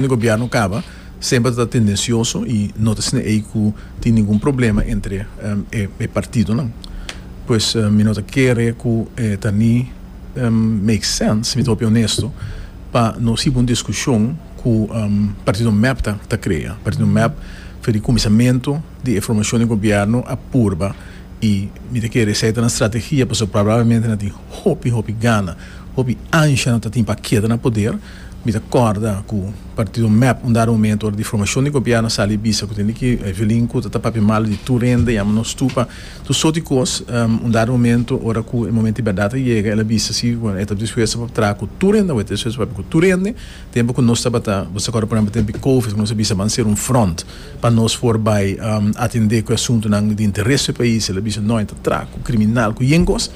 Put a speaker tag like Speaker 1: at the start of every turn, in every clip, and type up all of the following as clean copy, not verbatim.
Speaker 1: Di gobierno caba semper ta tendencioso y no ta asina ey cu tin ningun problema entre e partidonan. Pues mi no ta kere cu e ta ni make sense, mi ta hopi honesto, pa nos hiba un discusion cu partido mep ta crea. Partido mep for di cuminsamento di e formacion di gobierno a purba y mi ta kere esey ta nan strategia pasobra probablemente nan tin hopi hopi gana, hopi ansha nan ta tin pa keda na poder. Mi ta kòrda ku partido mep un dado momento ora di formashon di gobièrnu a sali bisa ku tende ki Evelyn ku ta ta papia malu di tur hende yama nos tur pa tur sort di kos. Un dado momento ora ku e momento di bèrdat a yega el a bisa si bueno e ta dispuesto pa traha ku tur hende awe e ta dispuesto pa papia ku tur hende. Tempu ku nos tabata bo sa kòrda por ehèmpel tempu di covid ku nos a bisa ban sera un front pa nos por bai atendé ku e asuntunan di interes di e pais el a bisa no e ta traha ku kriminal ku yen kos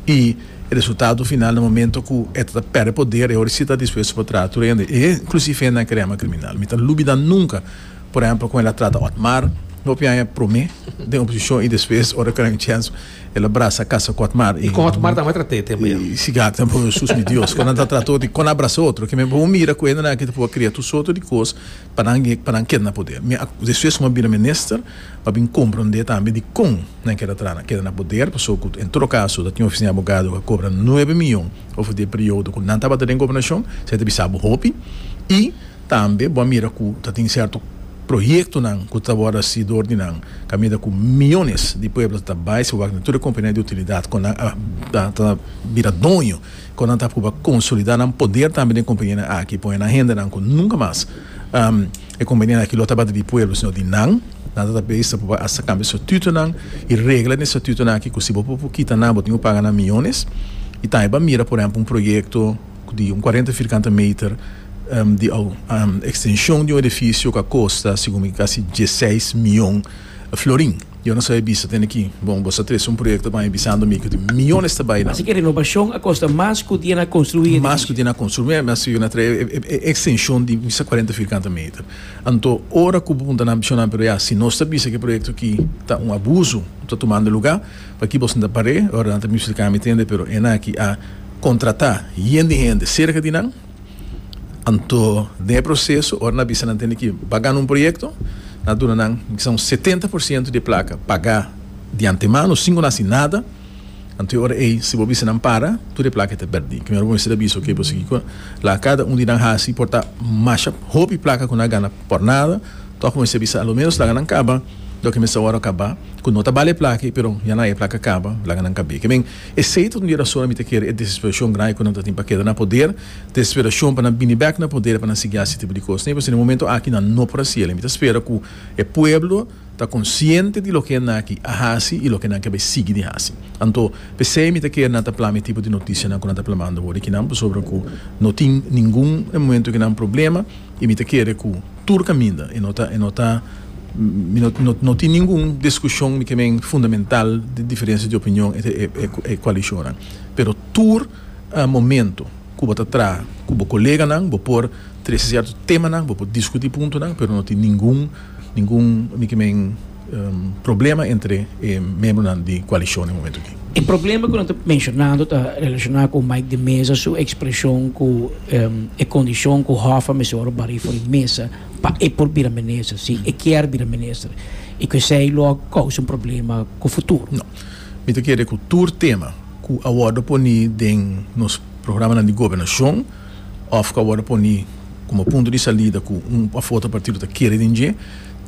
Speaker 1: i E resultado final na momento cu e ta perde poder e ora si ta dispuesto pa traha tur hende e inclusive hendenan cu rema criminal. Mi ta lubida nunca por ehempel con el a trata Otmar hopi aña prome den oposicion y despues ora cu era un chens el a brasa casa cu Otmar
Speaker 2: y con Otmar tambe a trate tempo ya.
Speaker 1: Y si gak tambe Jesus mi Dios con nan ta trata otro y con a brasa otro ke men bo mira cu hendenan aki ta por cria tur soto di cos pa nan pa nan keda na poder. Mi a despues cu mi a bira minister mi a bin comprende tambe dicon nan keda traha nan keda na poder pasobra cu en todo caso ta tin oficina di abogado cu a cobra nuebe miyon over di e periodo cu nan tabata den gobernacion esey ta bisa bo hopi y tambe bo a mira cu ta tin cierto proyectonan cu ta worde haci door di nan caminda cu miyones di pueblo ta bay si bo wak na tur e compania di utilidad cu nan a ta bira doño cu nan ta pruba consolida nan poder tambe den companianan aki pone nan hendenan cu nunca mas E kompanianan aki lo tabata di pueblo sino di nan. Nan ta ta por hasta kambia statutonan i regla den e statutonan aki ku si bo por kita nan bo tin ku paga nan miyones. I tambe bo a mira por ehempel un proyekto di un kuarenta firkante meter di ekstenshon di un edifisio ku a kosta segun mi kasi dieseis miyon florin. Yo no sabe bisa tene ki bon bo sa trese un proyecto pa mi bisando mi cu tin miyones ta bay nan.
Speaker 3: Así que renovacion a costa mas cu dia na construi edificio.
Speaker 1: Mas cu dia na construi, mi a sigui na trae e extension di misa cuarenta firkante meter. Anto ora cu bo punta nan bisho nan pero ya si nos ta bisa cu e proyecto aki ta un abuso cu ta tumando lugar paki boso no ta pare ora nan ta bin splica mi tende pero e nan aki a contrata yen di hende cerca di nan. Anto den e proseso ora nan a bisa nan tende ki ba gana un proyekto, nan a duna nan kisa un setenta por siento di e plaka pagá di antemano sin ku nan hasi nada. Anto e ora ei si bo bisa nan para, tur e plaka ta pèrdí. Primero bo mester a bisa oke bo sigui ku laga kada un di nan hasi por ta masha hopi plaka ku nan a gana por nada, tòg bo mester bisa a lo ménos laga nan kaba loke mester wòrdu kaba ku no ta bale e plaka ei pero ya nan a e plaka kaba laga nan kab'é. Ke men esei ta un di e rasonnan mi ta kere e desesperashon grandi ku nan ta tin pa keda na poder. Desesperacion pa nan bini bek na poder pa nan sigui haci tipo di cos. Pasobra den e momento aki nan no por haci el. Mi ta spera cu e pueblo ta consciente di loke nan aki a haci y loke nan ke bay sigui di haci. Anto, p'esey mi ta kere nan ta plama e tipo di noticianan cu nan ta plamando awor aki nan, pasobra cu no tin ningun e momento aki nan problema y mi ta kere cu tur caminda e no ta e no ta mi no no tin ningun discusion mi ke men fundamental di diferencia di opinion entre e e coalicionnan. Pero tur. Momento ku bo ta traha ku bo koleganan, bo por trese sierto temanan, bo por diskutí puntonan, pero no tin ningun ningun mi ke men problema entre e miembronan di koalishon den momento aki.
Speaker 3: E problema ku nan ta menshonando ta relashoná ku Mike de Meza su ekspreshon ku e kondishon ku Hoffa mester wòrdu barí for di mesa pa e por bira minister, si e kier bira minister, i ku esei lo a kousa un problema ku futuro.
Speaker 1: No. Mi ta kere ku tur tema ku a wòrdu poní den nos programanan di gobernashon òf ku a wòrdu poní komo punto di salida ku un òf otro partido ta kere den dje,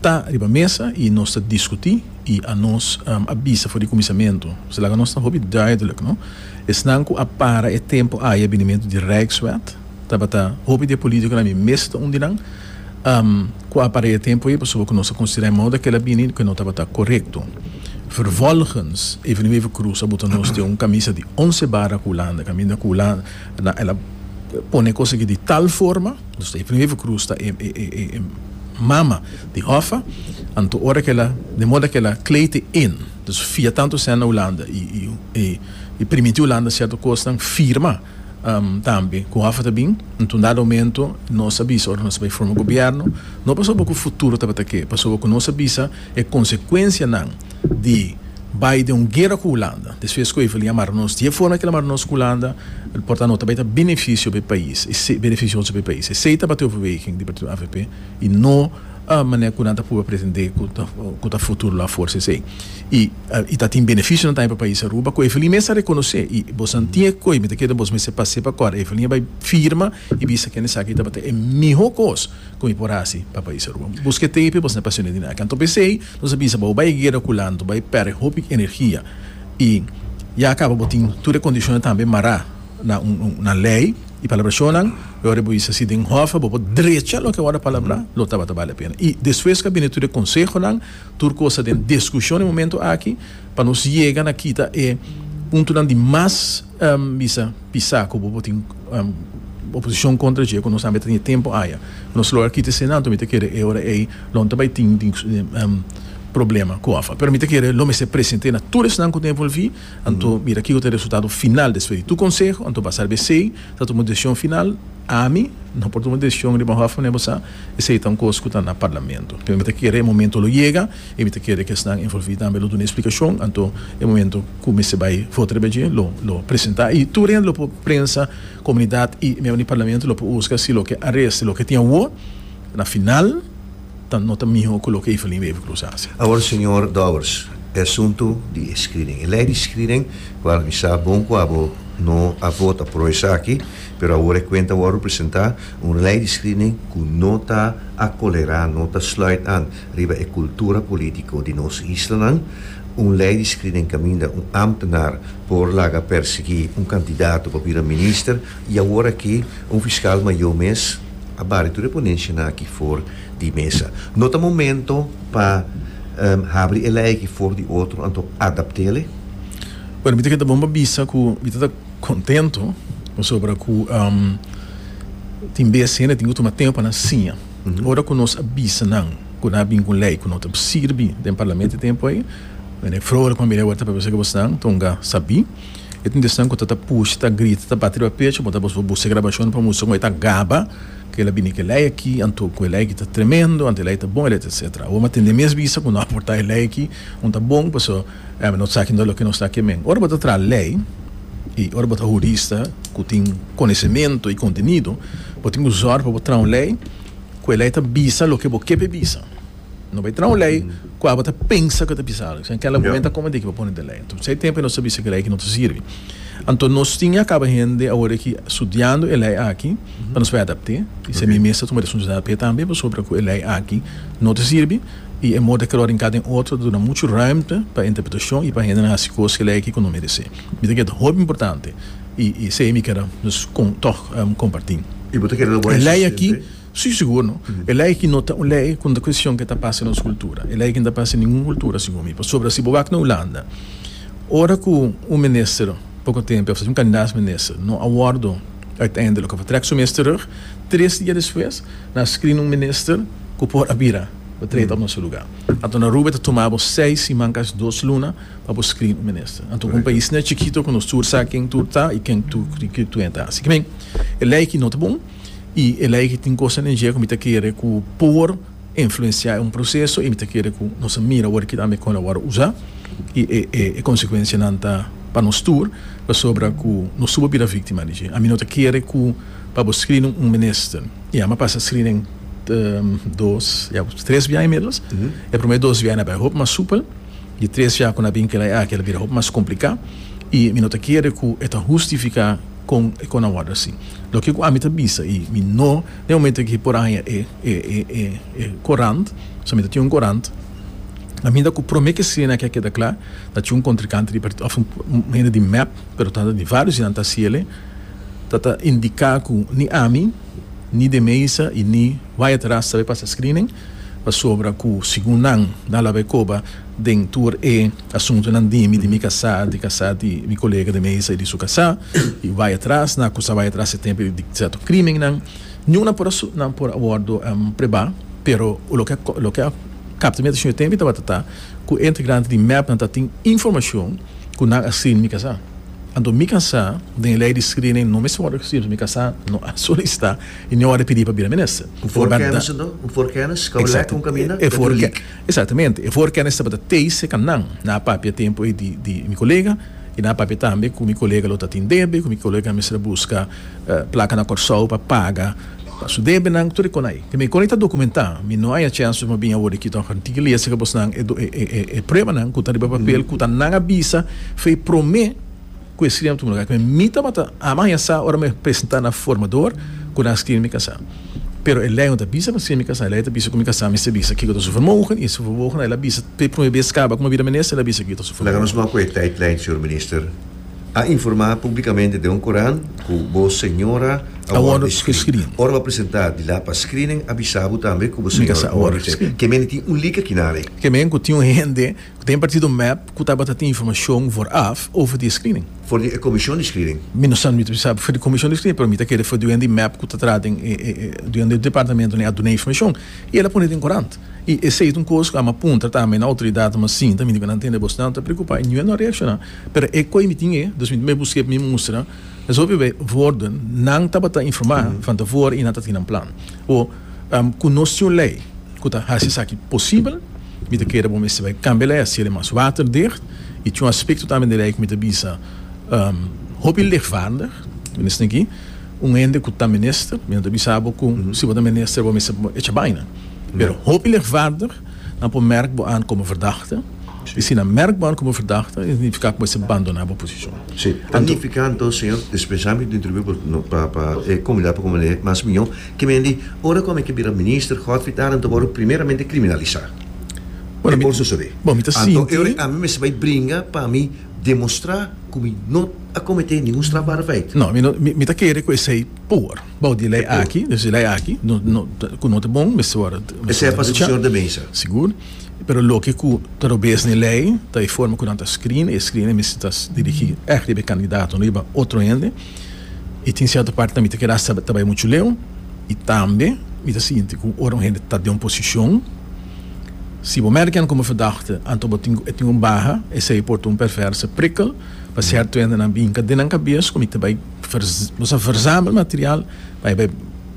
Speaker 1: ta riba mesa i nos ta diskutí i anos a bisa for di kuminsamentu. Pues laga nos ta hopi duidelijk, no? Esnan ku a para e tempu aya binimentu di Rijkswet tabata hopi di e politikonan, mi mes ta un di nan, Ku a para e tempu ei pasobra ku nos a konsiderá e moda ku el a bini ku e no tabata korekto. Vervolgens, Evelyn Wever-Croes a buta nos den un kamisa di onse bara ku Hulanda, kaminda ku Hulanda el a pone e kos aki di tal forma, dus Evelyn Wever-Croes ta e e mama di Hoffa, anto ora ku el a, den moda ku el a kleed e in, dus fia tantu sèn na Hulanda i i primintí Hulanda sierto kosnan, firma. Tambe ku Hoffa ta bin, anto un dado momento nos a bisa ora nos a bai forma gobierno, no pasobra ku futuro tabata ke, pasobra ku nos a bisa e konsekuensianan di bai den un guera ku Hulanda, despues ku Evelyn a mara nos di e forma ku el a mara nos ku Hulanda, por ta no ta bai ta benefisio pa e pais, benefisioso pa e pais. Esei tabata e overweging di partido avp i no manera ku nan ta purba pretende ku ta ku ta futuro lo a forsa esei. I i ta tin benefisionan tambe pa pais Aruba ku Evelyn mes a rekonosé i boso tin e koe, mi ta kere boso mester pas'é pa kòrda, Evelyn a bai firma i bisa kende esaki tabata e mihó kos ku mi por hasi pa pais Aruba. Buska e tape boso na pasione di naki. Anto p'esei nos a bisa bo bai guera ku lanto, bai pèrdè hopi energia i ya kaba bo tin tur e kondishonnan tambe mará na un na lei i palabrashonnan. E ora bo bisa si den hòf bo por drecha loke a wòrdu palabrá lo tabata bale pena. I despues ku a bini tur e konsehonan, tur kos ta den diskushon e momento aki pa nos yega na kita e puntonan di mas bisa pisá ku bo por tin oposishon kontra dje ku nos tambe ta tin e tempu aya. Nos logra kita esei anto mi ta kere e ora ei lo no ta bai tin problema ku òf. Pero mi ta kere lo mester presente na tur esnan ku ta envolví anto mira kiko ta e resultado final despues di tur konseho anto basá riba esei ta tuma un desishon final. Ami no por tuma desishon riba òf manera bo sa esei ta un kos ku ta na parlamento. Pero mi ta kere e momento lo yega i mi ta kere ku esnan envolví tambe lo duna e splikashon anto e momento ku mester bai vota riba dje lo lo presentá i tur hende lo por prensa. Comunidad y miembro di parlamento lo por busca si loke a resta y loke tin awor na final ta no ta miho cu loke Evelyn Wever Croes a haci.
Speaker 4: Awor señor Dowers, e asunto di e screening, e ley di screening cual mi sa bon cu abo no a vota pro esaki, pero awor e cuenta a wordo presenta, un ley di screening cu no ta acolera, no ta sluit aan riba e cultura politico di nos islanan, un ley di screening caminda un ambtenaar por laga persiguí un kandidato pa bira minister i awor aki un fiskal mayó mes a bari tur e ponenshanan aki for di mesa. No ta momento pa habri e lei aki for di otro anto adapt'ele?
Speaker 1: Bueno, mi ta keda bon pa bisa ku mi ta ta kontento pasobra ku tin bes hende tin ku tuma tempu pa nan siña. Ora ku nos a bisa nan ku nan a bin ku un lei ku no ta sirbi den parlamento e tempu ei, Meneer Vrolijk, ma mira awor ta papia ku bosnan tonga sabí. E tin desnan ku ta ta pusha, ta grita, ta bati riba pecho, bo ta bos buska grabashon pa mustra ku e ta gaba ku el a bini ku e lei aki, anto ku e lei aki ta tremendo, anto e lei ta bon, e lei ta etcetera. Awor mi a tende mes bisa ku no a porta e lei aki un ta bon, pasobra no sa kindo loke nos ta kemen. Ora bo ta traha lei i ora bo ta hurista ku tin konosementu i kontenido, bo tin ku zòrg pa bo traha un lei ku e lei ta bisa loke bo ke pa e bisa. No bai traha un lei ku abo ta pensa ku ta bisa algu. Sino kela momento a kome di ki bo pone den lei. Anto esei tempu nos ta bisa ku e lei aki no ta sirbi. Anto nos tin a kaba hende awor aki studiando e lei aki pa nos bai adapt'é. I esei mi mes ta tuma responsabilidat p'e tambe pasobra ku e lei aki no ta sirbi i e moda ku lo rinká den otro ta duna muchu ruimte pa interpretashon i pa hendenan hasi kos ku e lei aki ku no meresé. Mi ta kere ta hopi importante i esei mi kere dus tòg kompartí.
Speaker 4: I bo ta kere lo bo
Speaker 1: E lei aki. Sí, sigur no. E lei aki no ta un lei ku no ta kuestion ke ta pasa den nos kultura. E lei aki no ta pasa den ningun kultura, segun mi. Pasobra si bo wak na Hulanda, ora ku un minister poko tempu òf un kandidaat minister no a wòrdu uiteindelijk òf a trèk su mes terug, tres dia despues nan a skrin un minister ku por a bira betreden op na su lugá. Anto na Aruba e ta tuma bo seis siman, kasi dos luna, pa bo skrin un minister. Anto un pais asina chikito ku nos tur sa ken tur ta i ken tur ta hasi. E lei aki no ta bon. I e lei ki tin kosnan den dje ku mi ta kere ku por influensiá un proseso i mi ta kere ku nos a mira awor ki tambe kon a wòrdu usá i e e konsekuensianan ta pa nos tur pasobra ku nos tur por bira víktima di dje. Ami no ta kere ku pa bo screen un minister i ami a pasa screening dos ya tres bia inmiddels e promé dos bia a bai hopi mas supel di tres bia ku nan a bin kila e aki a bira hopi mas kompliká i mi no ta kere ku e ta hustifiká Kon e kon a wòrdu asi? Loke ku ami ta bisa i mi no den momento aki por a haña e e e e e korant, so mi ta tin un korant, kaminda ku promé ke sena aki a keda kla, ta tin un kontrinkante di partido òf un hende di mep, pero ta di vários di nan ta hasiel, ta ta indiká ku ni ami, ni de mesa i ni Wyatt Ras ta bai pasa screening, pasobra ku segun nan, nan lo a bai koba den tur e asuntunan di mi, di mi kasá, di kasá di mi kolega de mesa i di su kasá, i bai atras, nan akusá bai atras e tempu di sierto krimennan. Niun nan por a nan por a wòrdu prebá, pero loke a loke a kapta mi atenshon e tempu tabata ta ku e integrante di mep nan ta tin informashon ku nan a screen mi kasá. Anto mi kasá den e lei di screening no mester wòrdu gescreen, mi kasá no a solisitá i no a wòrdu pidí pa bira minister.
Speaker 4: Un voorkennis anto? Un voorkennis? Kau lek un kaminda?
Speaker 1: E voorkennis. Exactamente. E voorkennis tabata teise kan nan. Nan a papia tempu ei di di mi kolega i nan a papia tambe ku mi kolega lo ta tin debe, ku mi kolega mester a buska plaka na Kòrsou pa paga pa su debenan, tur e kon ei. Mi kon ei ta dokumentá. Mi no haña chèns pa bin awor aki tòg. Tin ki lesa ku bosnan e e pruebanan ku ta riba papel ku ta nan a bisa fei promé ku e screening a tuma lugar. Mi tabata ama haña sa ora mi a presentá na formador ku nan a screen mi kasá. Pero e lei no ta bisa pa screen mi kasá. E lei ta bisa ku mi kasá mester bisa kiko ta su vermogen i su vermogen el a bisa p'e promé bes kaba ku mi a bira minister el a bisa kiko ta su
Speaker 4: Laga
Speaker 1: vermogen.
Speaker 4: nos wak ku e tijdlijn, señor minister. A informá públikamente den un korant ku bo señora a
Speaker 1: A
Speaker 4: wòrdu
Speaker 1: wòrdu
Speaker 4: screen.
Speaker 1: gescreen.
Speaker 4: Ora bo a presentá di la pa screening a bisa bo tambe ku bo
Speaker 1: Mi
Speaker 4: señora
Speaker 1: kasá
Speaker 4: a
Speaker 1: a
Speaker 4: wòrdu
Speaker 1: wòrdu
Speaker 4: gescreen.
Speaker 1: gescreen.
Speaker 4: Ke mende tin un leak aki nan.
Speaker 1: Ke men ku tin un hende Den partido mep ku tabata tin informashon vooraf over di e screening.
Speaker 4: For di e komishon di screening.
Speaker 1: Mi no sa, mi ta bisa for di komishon di screening, pero mi ta kere for di un di mep ku ta traha den e e di un di e departamentonan a duna informashon. I el a pone den korant. I esei ta un kos ku a mi a puntra tambe na outoridatnan mas sinta, mi di ku nan tende bos nan ta preokupá i niun no a reakshoná. Pero e koi mi tin e, dus mi ta busk'é pa mi mustra. Es hopi bei woorden, nan tabata informá van tevoren i nan ta tin nan plan. O ku nos tin un lei. Ku ta hasi esaki posibel, mi ta kere bo mester bai kambia lei, hasiel e mas waterdicht. I tin un aspekto tambe den lei ku mi ta bisa hopi lichtvaardig, minister aki, un hende ku ta minister, mi no ta bisa bo ku si bo ta minister bo mester echa baina, pero hopi lichtvaardig nan por merk bo aan komo verdachte, i si nan merk bo aan komo verdachte, e signifiká ku bo mester bandoná bo posishon.
Speaker 4: Si, ta nifiká anto, señor, dispensá mi di interrumpí bo pa e komunidat por komprendé mas mihó. Ke men di, ora ku ami ke bira minister, Godfried Arend ta wòrdu primeramente kriminalisá.
Speaker 1: Bueno,
Speaker 4: E por sosodé.
Speaker 1: Bon, mi ta
Speaker 4: Anto
Speaker 1: sinti.
Speaker 4: e ora ami mester bai bringa pa mi demostrá ku mi no a kometé ningun strafbare feit.
Speaker 1: No, mi no, mi, mi ta kere ku esei por. Bou di e lei
Speaker 4: E por.
Speaker 1: aki, dus e lei aki, no, no, ku no ta bon, mester wòrdu, mester
Speaker 4: Esei a
Speaker 1: wòrdu
Speaker 4: pasa ku
Speaker 1: brechá.
Speaker 4: señor De Meza.
Speaker 1: Sigur. Pero loke ku ta robes na e lei ta e forma ku nan ta screen, e screen mester ta dirigí ègt riba e kandidato, no riba otro hende. I tin sierto parti mi ta keda hasta ta bai muchu leu i tambe mi ta sinti ku ora un hende ta den un posishon si bo merken komo verdachte anto bo tin e tin un baha esei por ta un perverse prikkel pa sierto hendenan bin hinka den nan kabes ku mi ta bai bo sa verzamel material pa e bai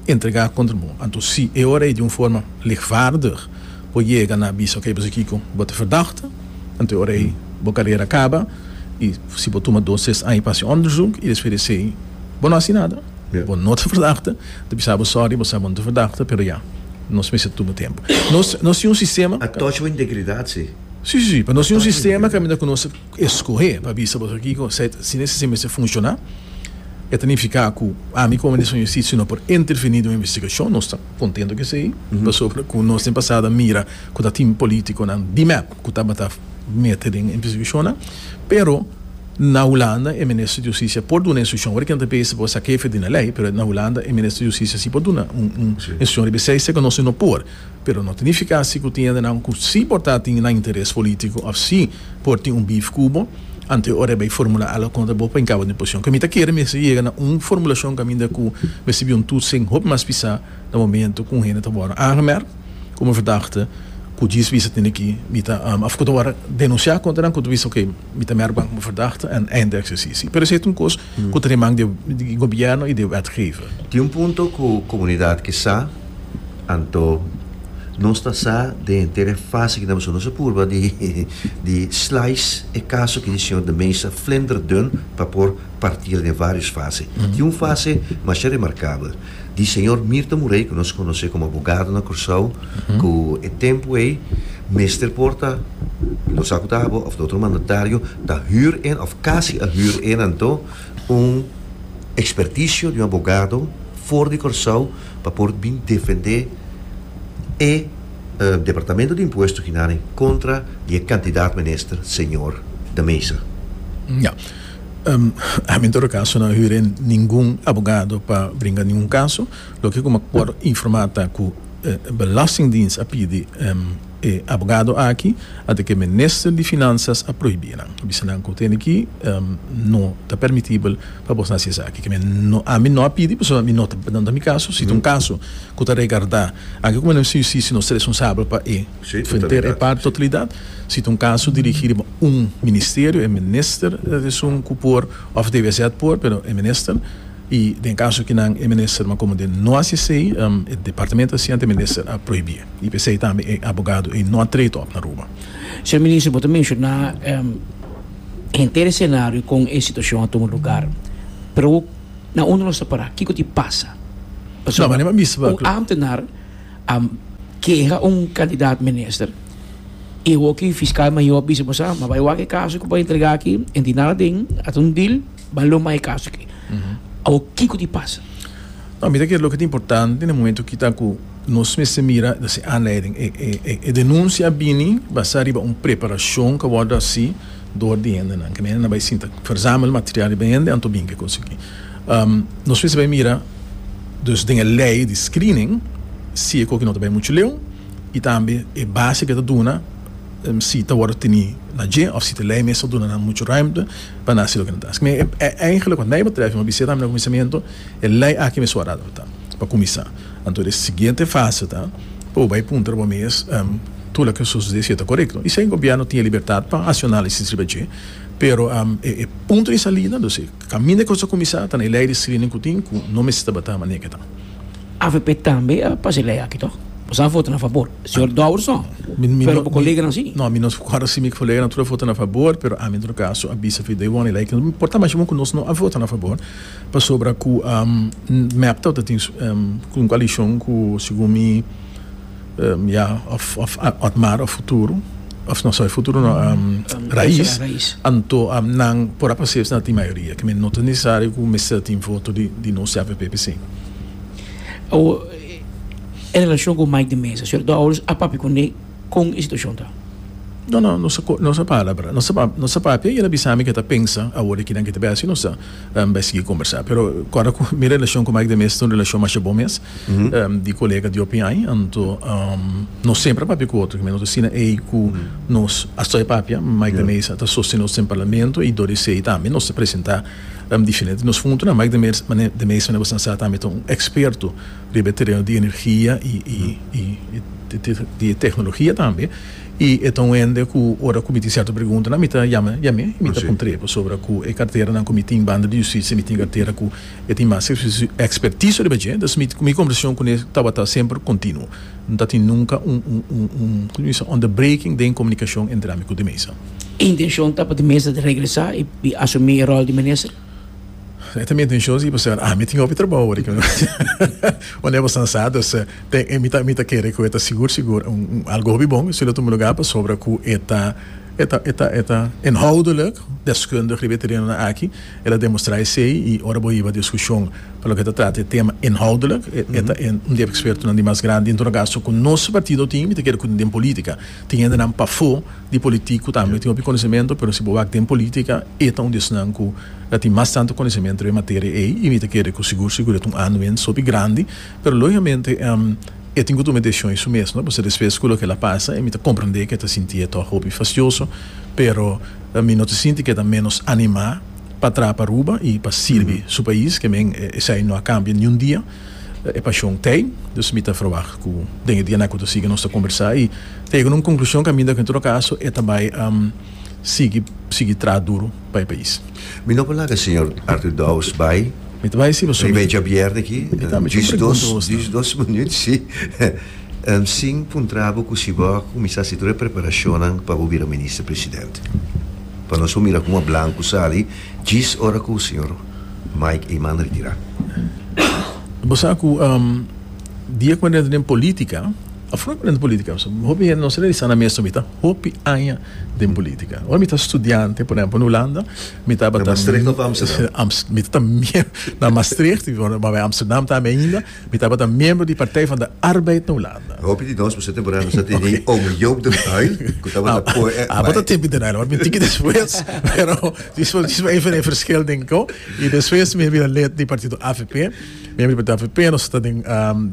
Speaker 1: entrega kontra bo anto si e ora ei di un forma lichtvaardig bo yega na bisa oke bo sa kiko bo ta verdachte anto e ora ei bo karera kaba. I si bo tuma dos tres aña pa hasi onderzoek i despues di esei bo no hasi nada, bo no ta verdachte, ta bisa bo sorry, bo sa bo no ta verdachte, pero ya, nos mester tuma tempu. Nos nos tin un sistema.
Speaker 4: A touch bo integridat si.
Speaker 1: Si, si, si, pero nos tin un sistema kaminda ku nos ta eskohé pa bisa bo kiko, si e sistema mester funshoná, e ta nifiká ku ami komo minister di Hustisia no por intervení den un investigashon, nos ta kontento ku esei, pasobra ku nos den pasado a mira ku ta tin polítikonan di mep ku tabata mete den investigashonnan, pero na Hulanda e minister di Hustisia por duna instrukshon. Ora kinan ta bisa bo sa kefe di na lei, pero na Hulanda e minister di Hustisia si por duna un instrukshon riba esei, esei ku nos no por. Pero no ta nifiká si ku tin hendenan ku si por ta tin nan interes polítiko òf si por tin un beef ku bo, anto e ora e bai formulá algu kontra bo pa hinkabo den posishon. Ku mi ta kere mester yega na un formulashon kaminda ku mester bin un toetsing hopi mas pisá na momento ku un hende ta wòrdu aangemerkt komo verdachte ku djis bisa tene ki mi ta of ku ta wòrdu denunsiá kontra nan ku ta bisa oke mi ta merk ban komo verdachte en einde eksesisi. Pero esei ta un kos ku ta den man di gobièrnu i di wetgever.
Speaker 4: Tin un punto ku komunidat ke sa, anto nos ta sa den henter e fase ki ta pasobra nos a purba di di slice e kaso ki di señor De Meza flinterdun pa por partiel den varios fase. Tin un fase masha remarkabel. Di señor Mirto Murray, ku nos konosé komo abogado na Kòrsou, ku e tempu ei mester por ta, no sa ku ta abo òf ta otro mandatario, ta hür en òf kasi a hür en anto un ekspertisio di un abogado for di Kòrsou pa por bin defendé e Departamento di Impuesto Ginani kontra di e kandidat minister señor De Meza.
Speaker 1: Ya. Ami en todo caso no a hür ningun abogado pa bringa ningun caso. Loke cu mi por informa ta cu Belastingdienst a pidi. e abogado aki, anto ku e minister di Finansas a prohibí nan. A bisa nan ku tene ki no ta permitibel pa bos hasi esaki. Ke men no, ami no a pidi pasobra mi no ta, no ta mi kaso. Si ta un kaso ku ta regardá, anke ku Minister di Hustisia nos ta responsabel pa e henter e parti totalidat. Si ta un kaso dirigí riba un ministerio, e minister ta esun ku por òf DWZ por, pero e minister. I den kaso kinan e minister ma komo den no hasi esei, e departamento a hasi anto e minister a prohibí. I p'esei tambe e abogado ei no a tree tòp na Aruba.
Speaker 3: Señor Minister, bo ta menshoná henter e senario kon e situashon a tuma lugar, pero na unda nos ta pará? Kiko tin pasa? Pasobra un ámtenar a keha un kandidat minister i hopi fiskal mayor a bisa bo sa, ma bai wak e kaso ku bo a entregá aki, en tin nada aden, a ta un deal. Ban lo mai caso aki. Awor kico di pasa?
Speaker 1: No, mi ta kere loke ta importante na e momento aki ta ku nos mester mira nos e aanleiding. E e e e denuncia a bini basa riba un preparacion ku a wòrdu hasi dor di hendenan. Ke hendenan bai sinta verzamel material riba hende anto bin ke kos aki. Nos mester bai mira dus den e lei di screening si e koki no ta bai muchu leu i tambe e base ku e ta duna si ta wòrdu teni na dje òf si ta lei mes ta duna nan muchu ruimte. pa nan hasi loke nan ta hasi. Mi eigenlijk wat mij betreft, mi a bisa tambe na kuminsamentu, e lei aki mester wòrdu adaptá pa kuminsá. Anto e siguiente fase ta pa bo bai puntra bo mes tur loke a sosodé si e ta korekto. I si gobièrnu tin e libertat pa hasi un análisis riba dje, pero e punto di salida, dus e kaminda ku nos a kuminsá ta na e lei di screening ku tin ku no mester tabata manera ke ta.
Speaker 3: Avp tambe a pasa e lei aki tòg? Boso a vota na fabor. Señor Dowers no, pero bo coleganan si.
Speaker 1: No, mi no acuerdo si mi coleganan tur a vota na fabor, pero ami en todo caso a bisa fi day one e ley no por ta masha bon cu nos no a vota na fabor, pasobra cu mep tabata tin un coalicion cu segun mi ya of of Otmar of Futuro, of no sorry Futuro no Raiz, anto nan por a pasa esnan tin mayoria, ke men no ta necesario cu mester tin voto di nos avp p'esey.
Speaker 3: E relashon ku Mike de Meza, señor Dowers a papia kuné kon e situashon ta?
Speaker 1: No, no, nos a nos a palabra, nos a nos a papia y el a bisa mi ke ta pensa awor di kinan ke ta bai hasi, nos a bai sigui kombersá. Pero kòrda ku mi relashon ku Mike de Meza ta un relashon masha bon mes, di kolega di hopi aña, anto nos semper a papia ku otro, nos ta asina ei ku nos a stoi papia, Mike de Meza ta sostené nos den parlamento y dor di esei tambe nos ta presentá diferente nos puntonan. Mike de Meza, de Meza manera bo sa tambe ta un eksperto riba e tereno di energia i di e teknologia tambe i e ta un hende ku ora ku mi tin sierto preguntanan mi ta yama yam'é i mi ta puntr'é pasobra ku e karteranan ku mi tin banda di hustisia mi tin kartera ku e tin mas ekspertiso riba dje dus mi mi kombersashon kuné tabata semper kontinuo no ta tin nunka un un un un komo bisa onderbreking den komunikashon entre ami ku de mesa.
Speaker 3: E intenshon ta pa de mesa regresá i asumí e ròl di minister?
Speaker 1: E ta mi intencion si pasobra ami tin hopi trabou awor aki wanneer bo san sa dus ten mi ta mi ta kere ku e ta sigur sigur un algo hopi bon si lo tuma lugar pasobra ku e ta e ta e ta e ta inhoudelijk deskundig riba e terenonan aki el a demostra esei i ora bo hiba diskushon pa loke ta trata e tema inhoudelijk e ta un di e ekspertonan di mas grandi en todo kaso ku nos partido tin mi ta kere ku den politika tin hendenan pafó di politik ku tambe tin hopi konosementu pero si bo wak den politika e ta un di esnan ku Ta tin mas tantu konosementu riba e materia ei i mi ta kere ku sigur sigur e ta un aanwinst hopi grandi, pero logikamente e tin ku tuma e desishon ei su mes, no? Pasobra despues ku loke el a pasa e mi ta komprendé ku e ta sintié tòg hopi fastioso, pero mi no ta sinti ku e ta ménos animá pa traha pa Aruba i pa sirbi su pais, ke men esei no a kambia niun dia, e pashon t'ei, dus mi ta ferwagt ku den e dianan ku ta sigui nos ta kombersá i ta yega na un konklushon kaminda ku en todo kaso e ta bai sigui sigui traha duru pa e pais.
Speaker 4: Mi no por laga señor Arthur Dowers bai.
Speaker 1: Mi ta bai si pasobra.
Speaker 4: Riba e djabièrnè aki.
Speaker 1: Mi tambe tin un pregunta pa bosnan.
Speaker 4: Djis dos minuut si. Sin puntra bo ku si bo a kuminsá hasi tur e preparashonnan pa bo bira minister president. Pa nos por mira kon a blanku sali djis ora ku señor Mike Eman retirá.
Speaker 1: Bo sa ku dia ku mi a drenta den politika, òf no den politika, pasobra hopi hende no sa realisá nan mes no mi ta hopi aña den politica. Ora mi ta studiante, por ehempel, na Hulanda, mi tabata...
Speaker 4: Na Maastricht of Amsterdam?
Speaker 1: Mi tabata miembro... Na Maastricht, maar bij Amsterdam tambe ainda. Mi tabata miembro di Partij van de Arbeid na Hulanda.
Speaker 4: Hopi di nos, pasobra temporada nos a tene ome Joop den Uyl, ku tabata por...
Speaker 1: Ah, bo ta tempi den Uyl, maar mi tiki despues, pero djis pa even e verschil den ko. I despues mi a bira lid di partido avp. Miembro di partido avp, nos ta den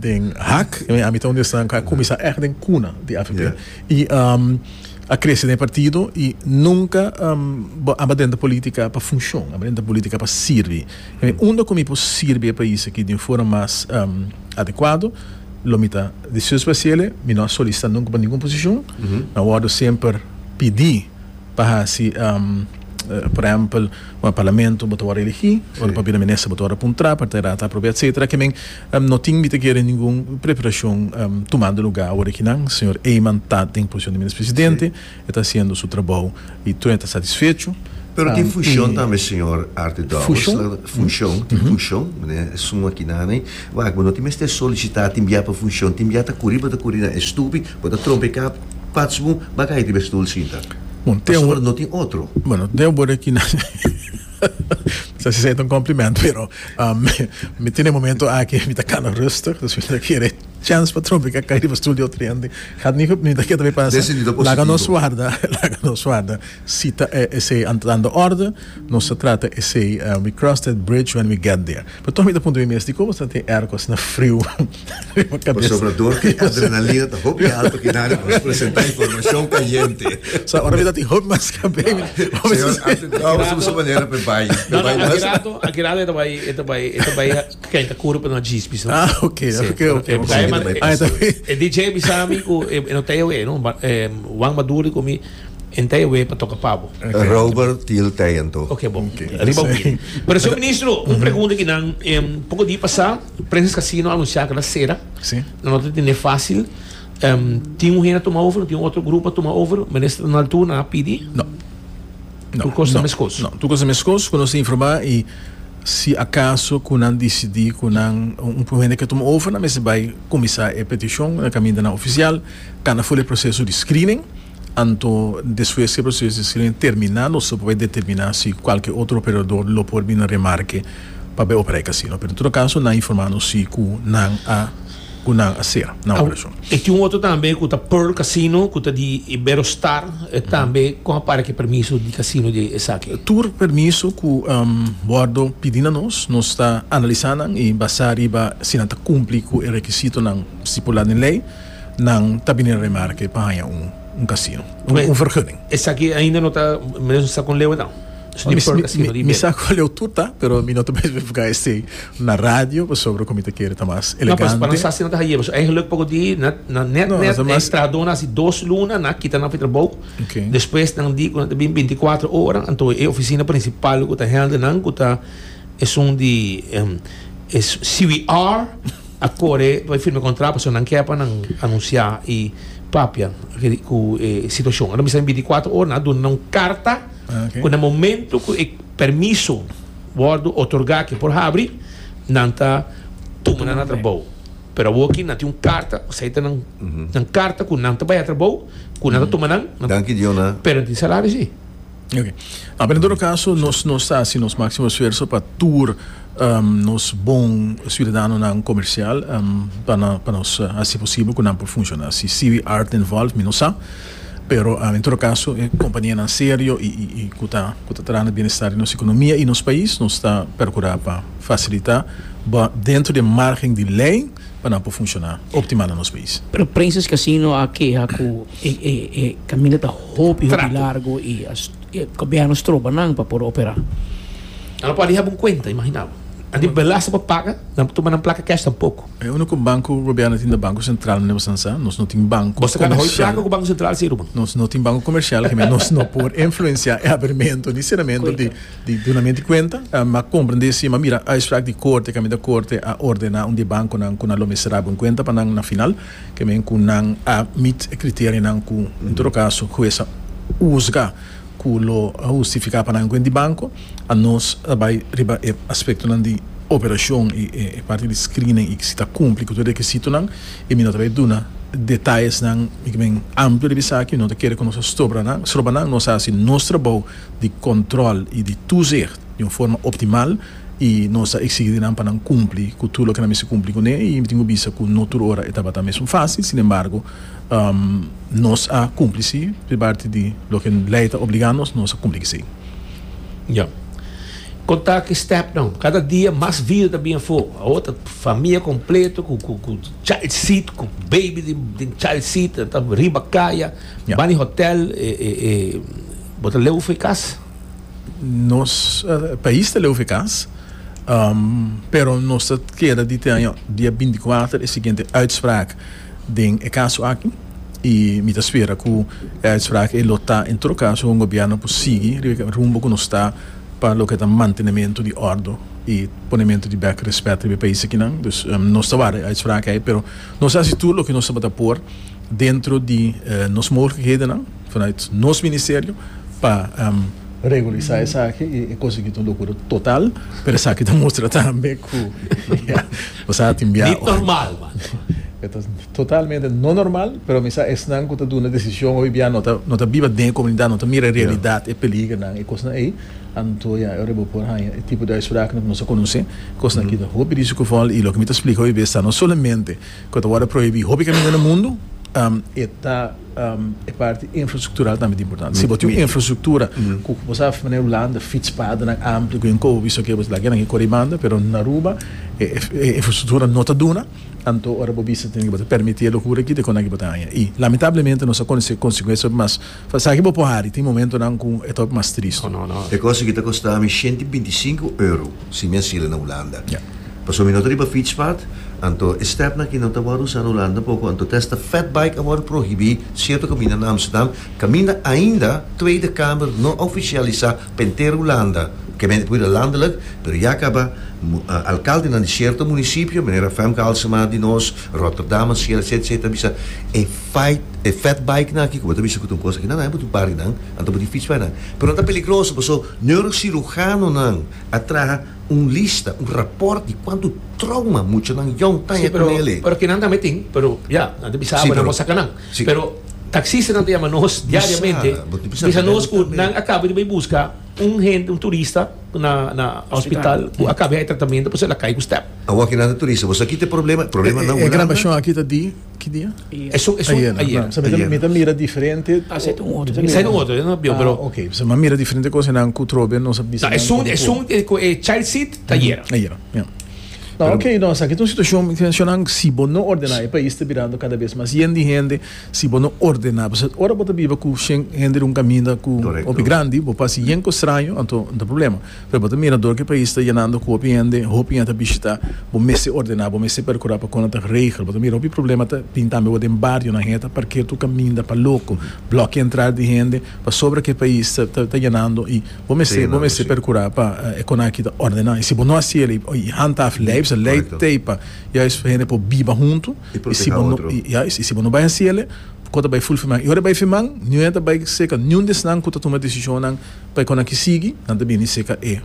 Speaker 1: den hak, ami ta un di esnan ku a kuminsá ègt den kuna di avp. I a krese den e partido i nunka bo a drenta politika pa funshon, a drenta politika pa sirbi. Unda ku mi por sirbi e pais aki di un forma mas adekuado lo mi ta dispuesto pa hasiel. Mi no a solisitá nunka pa ningun posishon, mi a wòrdu semper pidí pa hasi por ehempel ora parlamento bo ta wòrdu eligí, ora pa bira minister bo ta wòrdu apuntrá, pa ta aprobá etcetera. Ke men no tin mi ta kere ningun preparashon tumando lugá awor akinan. Señor Eman ta den posishon di minister presidente, e ta hasiendo su trabou i tur hende ta satisfecho.
Speaker 4: Pero tin funshon tambe señor Arthur Dowers.
Speaker 1: Funshon?
Speaker 4: Funshon, tin funshon, manera esun akinan ei. Wak, bo no tin mester solisitá tin bia pa funshon, tin bia ta kuri bo ta kuri na e stupi, bo ta trompeká. Patsmu ba kai riba e stoel sinta.
Speaker 1: Bon, te
Speaker 4: Pasobra no tin otro.
Speaker 1: Bueno, te awor aki na sa si esei ta un compliment, pero mi tin e momento aki mi ta kana rustig, dus mi ta kere chance pa trompica kai riba stoel di otro hende. Gaat niet, mi ta kere tambe pasa.
Speaker 4: Den sentido positivo.
Speaker 1: Laga nos warda, laga nos warda si ta esei aan de orde. Nos ta trata esei, we cross that bridge when we get there. Pero toch mi ta puntra mi mes, dikon bo ta tin airco asina friu riba kabes?
Speaker 4: Pasobra dor ku e adrenalina ta hopi alto kinari nos presenta informashon kayente.
Speaker 1: So ora mi ta tin hopi mas kabei mi
Speaker 4: Señor Arthur Dowers usa manera pa e bai.
Speaker 2: No, no, aki rato, aki rato e ta bai, e ta bai, e ta bai kenta kuru pa no djis no.
Speaker 1: Ah, ok, ok, ok.
Speaker 2: E DJ a bisa mi ku e no ta e no, Juan Maduro di ku mi. En ta ewe pa toca pa bo.
Speaker 4: Robert Thiel tei anto.
Speaker 2: Ok bon. Riba win. Pero señor ministro, un pregunta ki nan poco dia pasa Princess Casino a anuncia cu nan cera.
Speaker 1: Si.
Speaker 2: Nan no ta tene facil. Tin un hende a tuma over, tin un otro grupo a tuma over. Minister na altura nan a pidi?
Speaker 1: No. No.
Speaker 2: Tur cos ta mescos?
Speaker 1: No, tur cos ta mescos cu nos a informa y si acaso cu nan dicidi cu nan un hende ke tuma over nan mester bay cuminsa e peticion na camindanan oficial, cana full e proceso di screening. Anto despues ku e proseso di screening terminá nos lo por bai determiná si kualke otro operador lo por bini na remarke pa bai operá e kasino. Pero en todo kaso nan a informá nos si ku nan a ku nan a sera nan operashon.
Speaker 2: E tin un otro tambe ku ta Pearl Casino ku ta di Iberostar e tambe kon a para ku e permiso di kasino di esaki?
Speaker 1: Tur permiso ku wòrdu pidi na nos, nos ta analisá nan i basá riba si nan ta kumpli ku e rekisitonan stipulá den lei. Nan ta bini remarke pa haña un un casino, un un vergunning.
Speaker 2: Esaki ainda no ta, menos no sa con leu e ta. Su di Pearl Casino di
Speaker 1: Mi sa con leu tur ta, pero mi no ta bay especifica esey na radio pasobra cu mi ta kere ta mas
Speaker 2: No,
Speaker 1: elegante.
Speaker 2: pa no sa si nan ta haye, pasobra eigenlijk poco di na na net
Speaker 1: No,
Speaker 2: net
Speaker 1: ta
Speaker 2: e
Speaker 1: mas
Speaker 2: trahadornan hasi dos luna nan a kita nan for trabou.
Speaker 1: Okay.
Speaker 2: Despues nan di cu nan ta bin binticuatro ora, anto e oficina principal cu ta handle nan cu ta esun di e CWR. A kore pa e firma e kontrato pasobra nan ke pa nan anunsiá i papia ku e situashon. Nan bisa bintikuater ora nan a duna nan un karta ku na momento ku e permiso wòrdu otorgá ke por habri nan ta tuma nan na trabou. Pero awoki nan tin un karta, esei ta nan nan karta ku nan ta bai a trabou ku nan ta tuma nan,
Speaker 4: Danki Diona.
Speaker 2: pero nan tin salario si.
Speaker 1: Ok. No, pero en todo caso nos nos ta haci nos maximo esfuerzo pa tur nos bon ciudadanonan comercial pa na pa nos haci posibel cu nan por funciona. Si CV Art involved mi no sa, pero en todo caso e companianan serio y y y cu ta cu ta traha na bienestar di nos economia y nos pais nos ta percura pa facilita dentro di e margen di ley. pa nan por funshoná optimal na nos pais.
Speaker 3: Pero Princess Casino a keha ku e e e kaminda ta hopi hopi largo i e gobièrnu stroba nan pa por operá.
Speaker 2: Nan no por a haba un kuenta, imaginá bo. Nan tin belasting pa paga, nan por tuma nan plaka cash tampoko.
Speaker 1: E úniko banko ku gobièrnu tin ta Banko Sentral, meneer Bosansa. Nos no tin banko
Speaker 2: Bo ta gana hopi plaka ku Banko Sentral si, Ruben.
Speaker 1: Nos no tin banko komersial, nos no por influensiá e abrimentu ni seramentu di. Di dunamento di kuenta, m'a komprendé si m'a mira uitspraak di korte kaminda korte a ordená un di e bankonan ku nan lo mester habri un kuenta pa nan na final, ke men ku nan a meet e kriterianan ku en todo kaso hues a huzga ku lo a hustifiká pa nan un kuenta di banko. A nos a bai riba e aspektonan di operashon i e parti di screening i si ta kumpli ku tur e rekisitonan i mi no ta bai duna detayesnan mi ke men amplio riba esaki, mi no ta kere ku nos a stobra nan, stroba nan, nos a hasi nos trabou. di control y di toezicht di un forma optimal y nos ta exigi di nan pa nan cumpli cu tur loke nan mester cumpli cune y mi tin cu bisa cu no tur ora e tabata mesun facil, sin embargo nos a cumpli si di parti di loke ley ta obliga nos, nos a cumpli cu esey.
Speaker 2: Ya. Konta ki stèpnan. Kada dia mas vida ta bin afó. Awor ta famia kompleto ku ku ku child seat, ku baby den den child seat, nan ta riba kaya, ban di hotèl, e e e bo ta leu for e kas?
Speaker 1: Nos pais ta leu for e kas, pero nos ta keda di te aña dia binti kuater e siguiente uitspraak den e kaso aki i mi ta spera ku e uitspraak ei lo ta en todo kaso un gobièrnu por sigui riba e rumbo ku nos ta. pa loke ta mantenementu di òrdu i ponementu di bèk rèspèt riba e pais akinan. Dus nos ta wara e uitspraak ei, pero nos a hasi tur loke nos tabata por dentro di nos mogelijkhedennan vanuit nos ministerio pa regulisá esaki i e kos aki ta un lokura total, pero esaki ta mustra tambe ku ya bo sa tin bia.
Speaker 2: Nit normal man.
Speaker 1: E ta totalmente no normal, pero mi sa esnan ku ta duna desishon hopi bia no ta no ta biba den e komunidat, no ta mira e realidat, e peligernan, e kosnan ei. Anto ya, e ora bo por haña e tipo di uitspraaknan ku nos a konosé. Kosnan aki ta hopi risikovol i loke mi ta splika hopi bes ta no solamente ku ta wòrdu prohibí hopi kaminda na mundu, e ta e parti infrastruktural tambe ta importante. Si bo tin un infrastruktura ku bo sa manera Hulanda fietspadennan amplio ku yen kobi esaki bo ta laga nan ke kore banda, pero na Aruba e infrastruktura no ta duna. Anto ora bo bisa tin bo ta permiti e lokura aki, dikon aki bo ta haña. I lamentablemente nos a konosé konsekuensia hopi mas. Esaki bo por hari, tin momentonan ku e ta hopi mas tristu.
Speaker 4: E kos aki ta kosta mi 125 euro si mi a sila na Hulanda. Pasobra mi no ta riba fietspad, anto e stèpnan aki no ta wòrdu usá na Hulanda poko, anto te hasta fatbike a wòrdu prohibí sierto kaminda na Amsterdam, kaminda ainda Tweede Kamer no a ofisialisá pa henter Hulanda, ke men por bira landelijk, pero ya kaba alkaldenan di sierto munisipio, manera Femke Halsema di nos, Rotterdam, Asiel, etcetera, etcetera, bisa e fight, e fat bikenan aki, ku bo ta bisa ku ta un kos aki, nan nan bo tin par di nan, anto bo tin fiets pa nan. Pero nan ta peligroso, paso neurocirujanonan a traha un lista, un raport di kuantu trauma muchanan yong ta haña ku nele.
Speaker 2: Pero kinan tambe tin, pero ya, nan ta bisa bo nan bo saka nan. Pero taxistanan ta yama nos diariamente, bisa nos ku nan a kaba di bai buska un hende, un turista na na hospital ku a kaba di haña tratamentu pasobra el a kai ku stèp.
Speaker 4: Awor kinan ta turista, bo sa kita e problema? Problema na
Speaker 1: E
Speaker 4: Hulanda.
Speaker 1: grabashon aki ta di ki dia?
Speaker 2: Esun esun
Speaker 1: Ayer.
Speaker 2: ayer.
Speaker 1: Sa mi ta mira diferente.
Speaker 3: Ah, sa ta un otro.
Speaker 2: Sa ta un otro, no bio, pero.
Speaker 1: Ah, ok. Sa mi a mira diferente kosanan ku trobe nos a bisa.
Speaker 2: No, esun esun ku e child seat ta ayer.
Speaker 1: Ayer, ya. No, ok, no, esaki ta un situacion, mi ta menciona, si bo no ordena, e pais ta birando cada bes mas yen di hende, si bo no ordena, pasobra ora bo ta biba cu shen hende den un caminda cu hopi grandi, bo por haci yen cos straño, anto no ta problema. Pero bo ta mira dor cu e pais ta yenando cu hopi hende, hopi hende ta bishita, bo mester ordena, bo mester percura pa con ta regel. Bo ta mira hopi problema ta bin tambe bo den barionan, hende ta parkeer tur caminda pa loco, blokia entrada di hende, pasobra cu e pais ta yenando y. Bo mester, bo mester percura pa e con aki ta ordena. Y si bo no haci el y handhaaf ley, pues ley t'ey pa juist pa hende por biba hunto.
Speaker 4: Y
Speaker 1: Y si
Speaker 4: proteha
Speaker 1: bo no,
Speaker 4: otro.
Speaker 1: y juist, y si bo no bay haci el, con ta bay full firman. Y ora e bay firman, niun hende ta bay seca niun di esnan cu ta tuma decisionnan pa e con aki sigui, nan ta bini seca e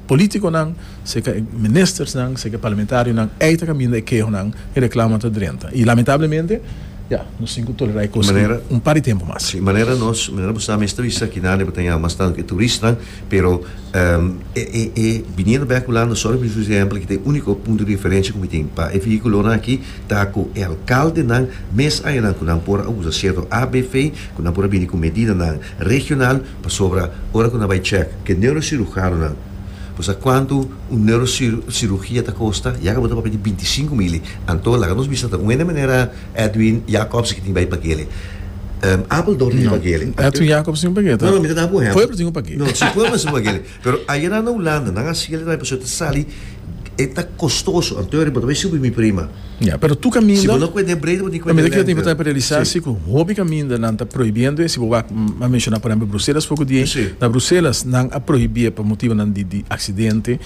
Speaker 1: politiconan, seca e ministersnan, seca e parlamentarionan. Ey ta caminda e kehonan, e reclamonan ta drenta. Y lamentablemente, ya, nos tin cu tolera e cos
Speaker 4: Manera,
Speaker 1: un par di tempo mas.
Speaker 4: Sí, manera nos, manera bo sa mes ta bisa aki nan, bo ta yama mas tantu ku e turistanan, pero e e e biniendo bek Hulanda, sorry pa usa e ehempel aki, ta e úniko punto di referensia ku mi tin pa e vehíkulonan aki ta ku e alkaldenan mes añanan ku nan por a usa sierto ABV, ku nan por a bini ku medidanan regional, pasobra ora ku nan bai chèk ku e neurocirujanonan, bo sa kuantu un neurocirugia ta kosta? Ya ku bo ta papia di bintisinku mili, anto laga nos bisa ta un hende manera. Edwin Jacobs ki tin bai pagele. Apeldoorn tin pagele.
Speaker 1: Edwin Jacobs tin pagele.
Speaker 4: No, no, mi ta daba un ehempel.
Speaker 1: Pueblo tin un pagele.
Speaker 4: No, si pueblo tin pagele. Pero ayera na Hulanda nan a sigui tambe pasobra ta sali e ta kostoso. Anto bo ta bai subi mi prima.
Speaker 1: Ya, pero tur kaminda.
Speaker 4: Si bo no kuende breed bo tin kuende
Speaker 1: lengte. Mi ta kere ta importante pa realisa
Speaker 4: si
Speaker 1: ku hopi kaminda nan ta prohibiendo e si bo wak a menshoná por ehempel Bruselas poko dia. Na Bruselas nan a prohibié pa motibonan di aksidente.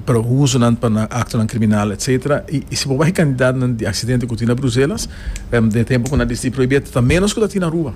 Speaker 1: Pero usonan pa nan aktonan kriminal etcetera. I si bo bai kandidatnan di aksidente ku tin na Bruselas den e tempu ku nan a disidí prohibí ta ménos ku ta tin na Aruba.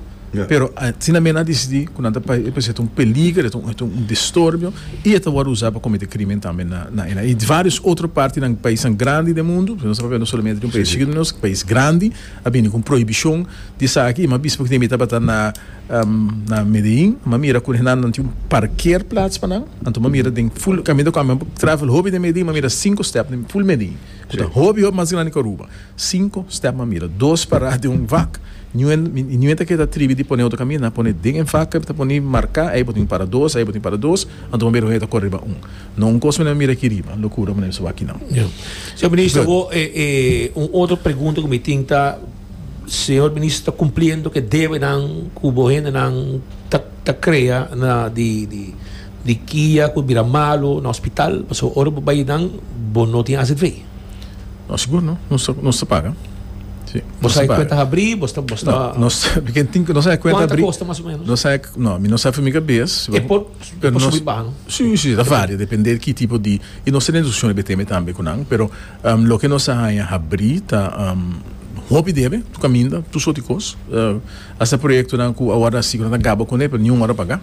Speaker 1: Pero asina men a disidí ku nan ta pasobra e ta un peliger, e ta un distorbio i e ta wòrdu usá pa kometé krimen tambe na na i vários otro partinan paisnan grandi den mundu, nos ta papia no solamente di un pais chikitu, nos pais grandi a bini ku un prohibishon di esaki i mi a bisa pasobra mi tabata na Na Medellin m'a mira ku nan nan tin un parkeerplaats pa nan, anto m'a mira den ful kaminda ku ami a travel hopi den Medellin m'a mira sinku step den ful Medellin ku ta hopi hopi mas grandi ku Aruba, sinku step m'a mira, dos pará den un vak. Niun niun ta keda tribi di pone otro kaminda, nan a pone den e vak ta pone marká, ei bo tin para dos, ei bo tin para dos, anto bo mira ku ta kore riba un. No un kos manera mira aki riba, lokura manera bisa wak akinan.
Speaker 2: Ya. Señor Minister, bo e e un otro pregunta ku mi tin ta, señor Minister ta kumpliendo ku e debenan ku bo hendenan ta ta krea na di di di kia ku bira malu na hospital? Pasobra ora bo bai nan bo no tin azv.
Speaker 1: No, sigur no. Nos ta, nos ta paga. Sí,
Speaker 2: Bo
Speaker 1: nos
Speaker 2: sa
Speaker 1: ta
Speaker 2: e
Speaker 1: paga.
Speaker 2: kuenta habrí, bo ta, bo ta.
Speaker 1: No, nos, ken tin, nos sa e kuenta
Speaker 2: Kuanta
Speaker 1: habrí.
Speaker 2: kosta mas o menos?
Speaker 1: Nos sa e, no, mi no sa for mi kabes.
Speaker 2: E por, e
Speaker 1: Pero
Speaker 2: por
Speaker 1: nos,
Speaker 2: subi baha, no?
Speaker 1: Sí, sí, ta varia, depende di ki tipo di, i nos ta den discusion riba e tema tambe ku nan, pero loke nos a haña habrí ta hopi debe, tur kaminda, tur sort di kos. Hasta proyektonan ku a wòrdu hasi ku nan ta gaba kuné, pero niun wòrdu paga.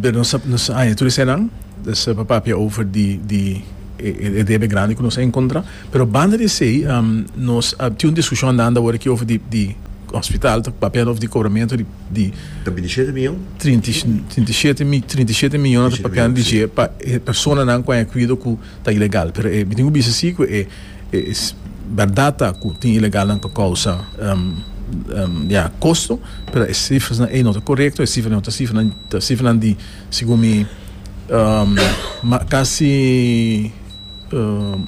Speaker 1: Pero nos a, nos a haña tur esenan, dus pa papia over di, di e debe grandi ku nos a enkontrá. Pero banda di esei nos a tin un diskushon andando awor aki over di di hospital, ta papia over di kobramentu di di
Speaker 4: Ta 27 mion?
Speaker 1: 37 mi 37 mion ta papiando di dje pa e personanan ku a haña kuido ku ta ilegal. Pero e mi tin ku bisa si ku e e bèrdat ta ku tin ilegalnan ku a kousa ya kosto, pero e sifrasnan ei no ta korekto, e sifranan no ta sifranan ta sifranan di Segun mi kasi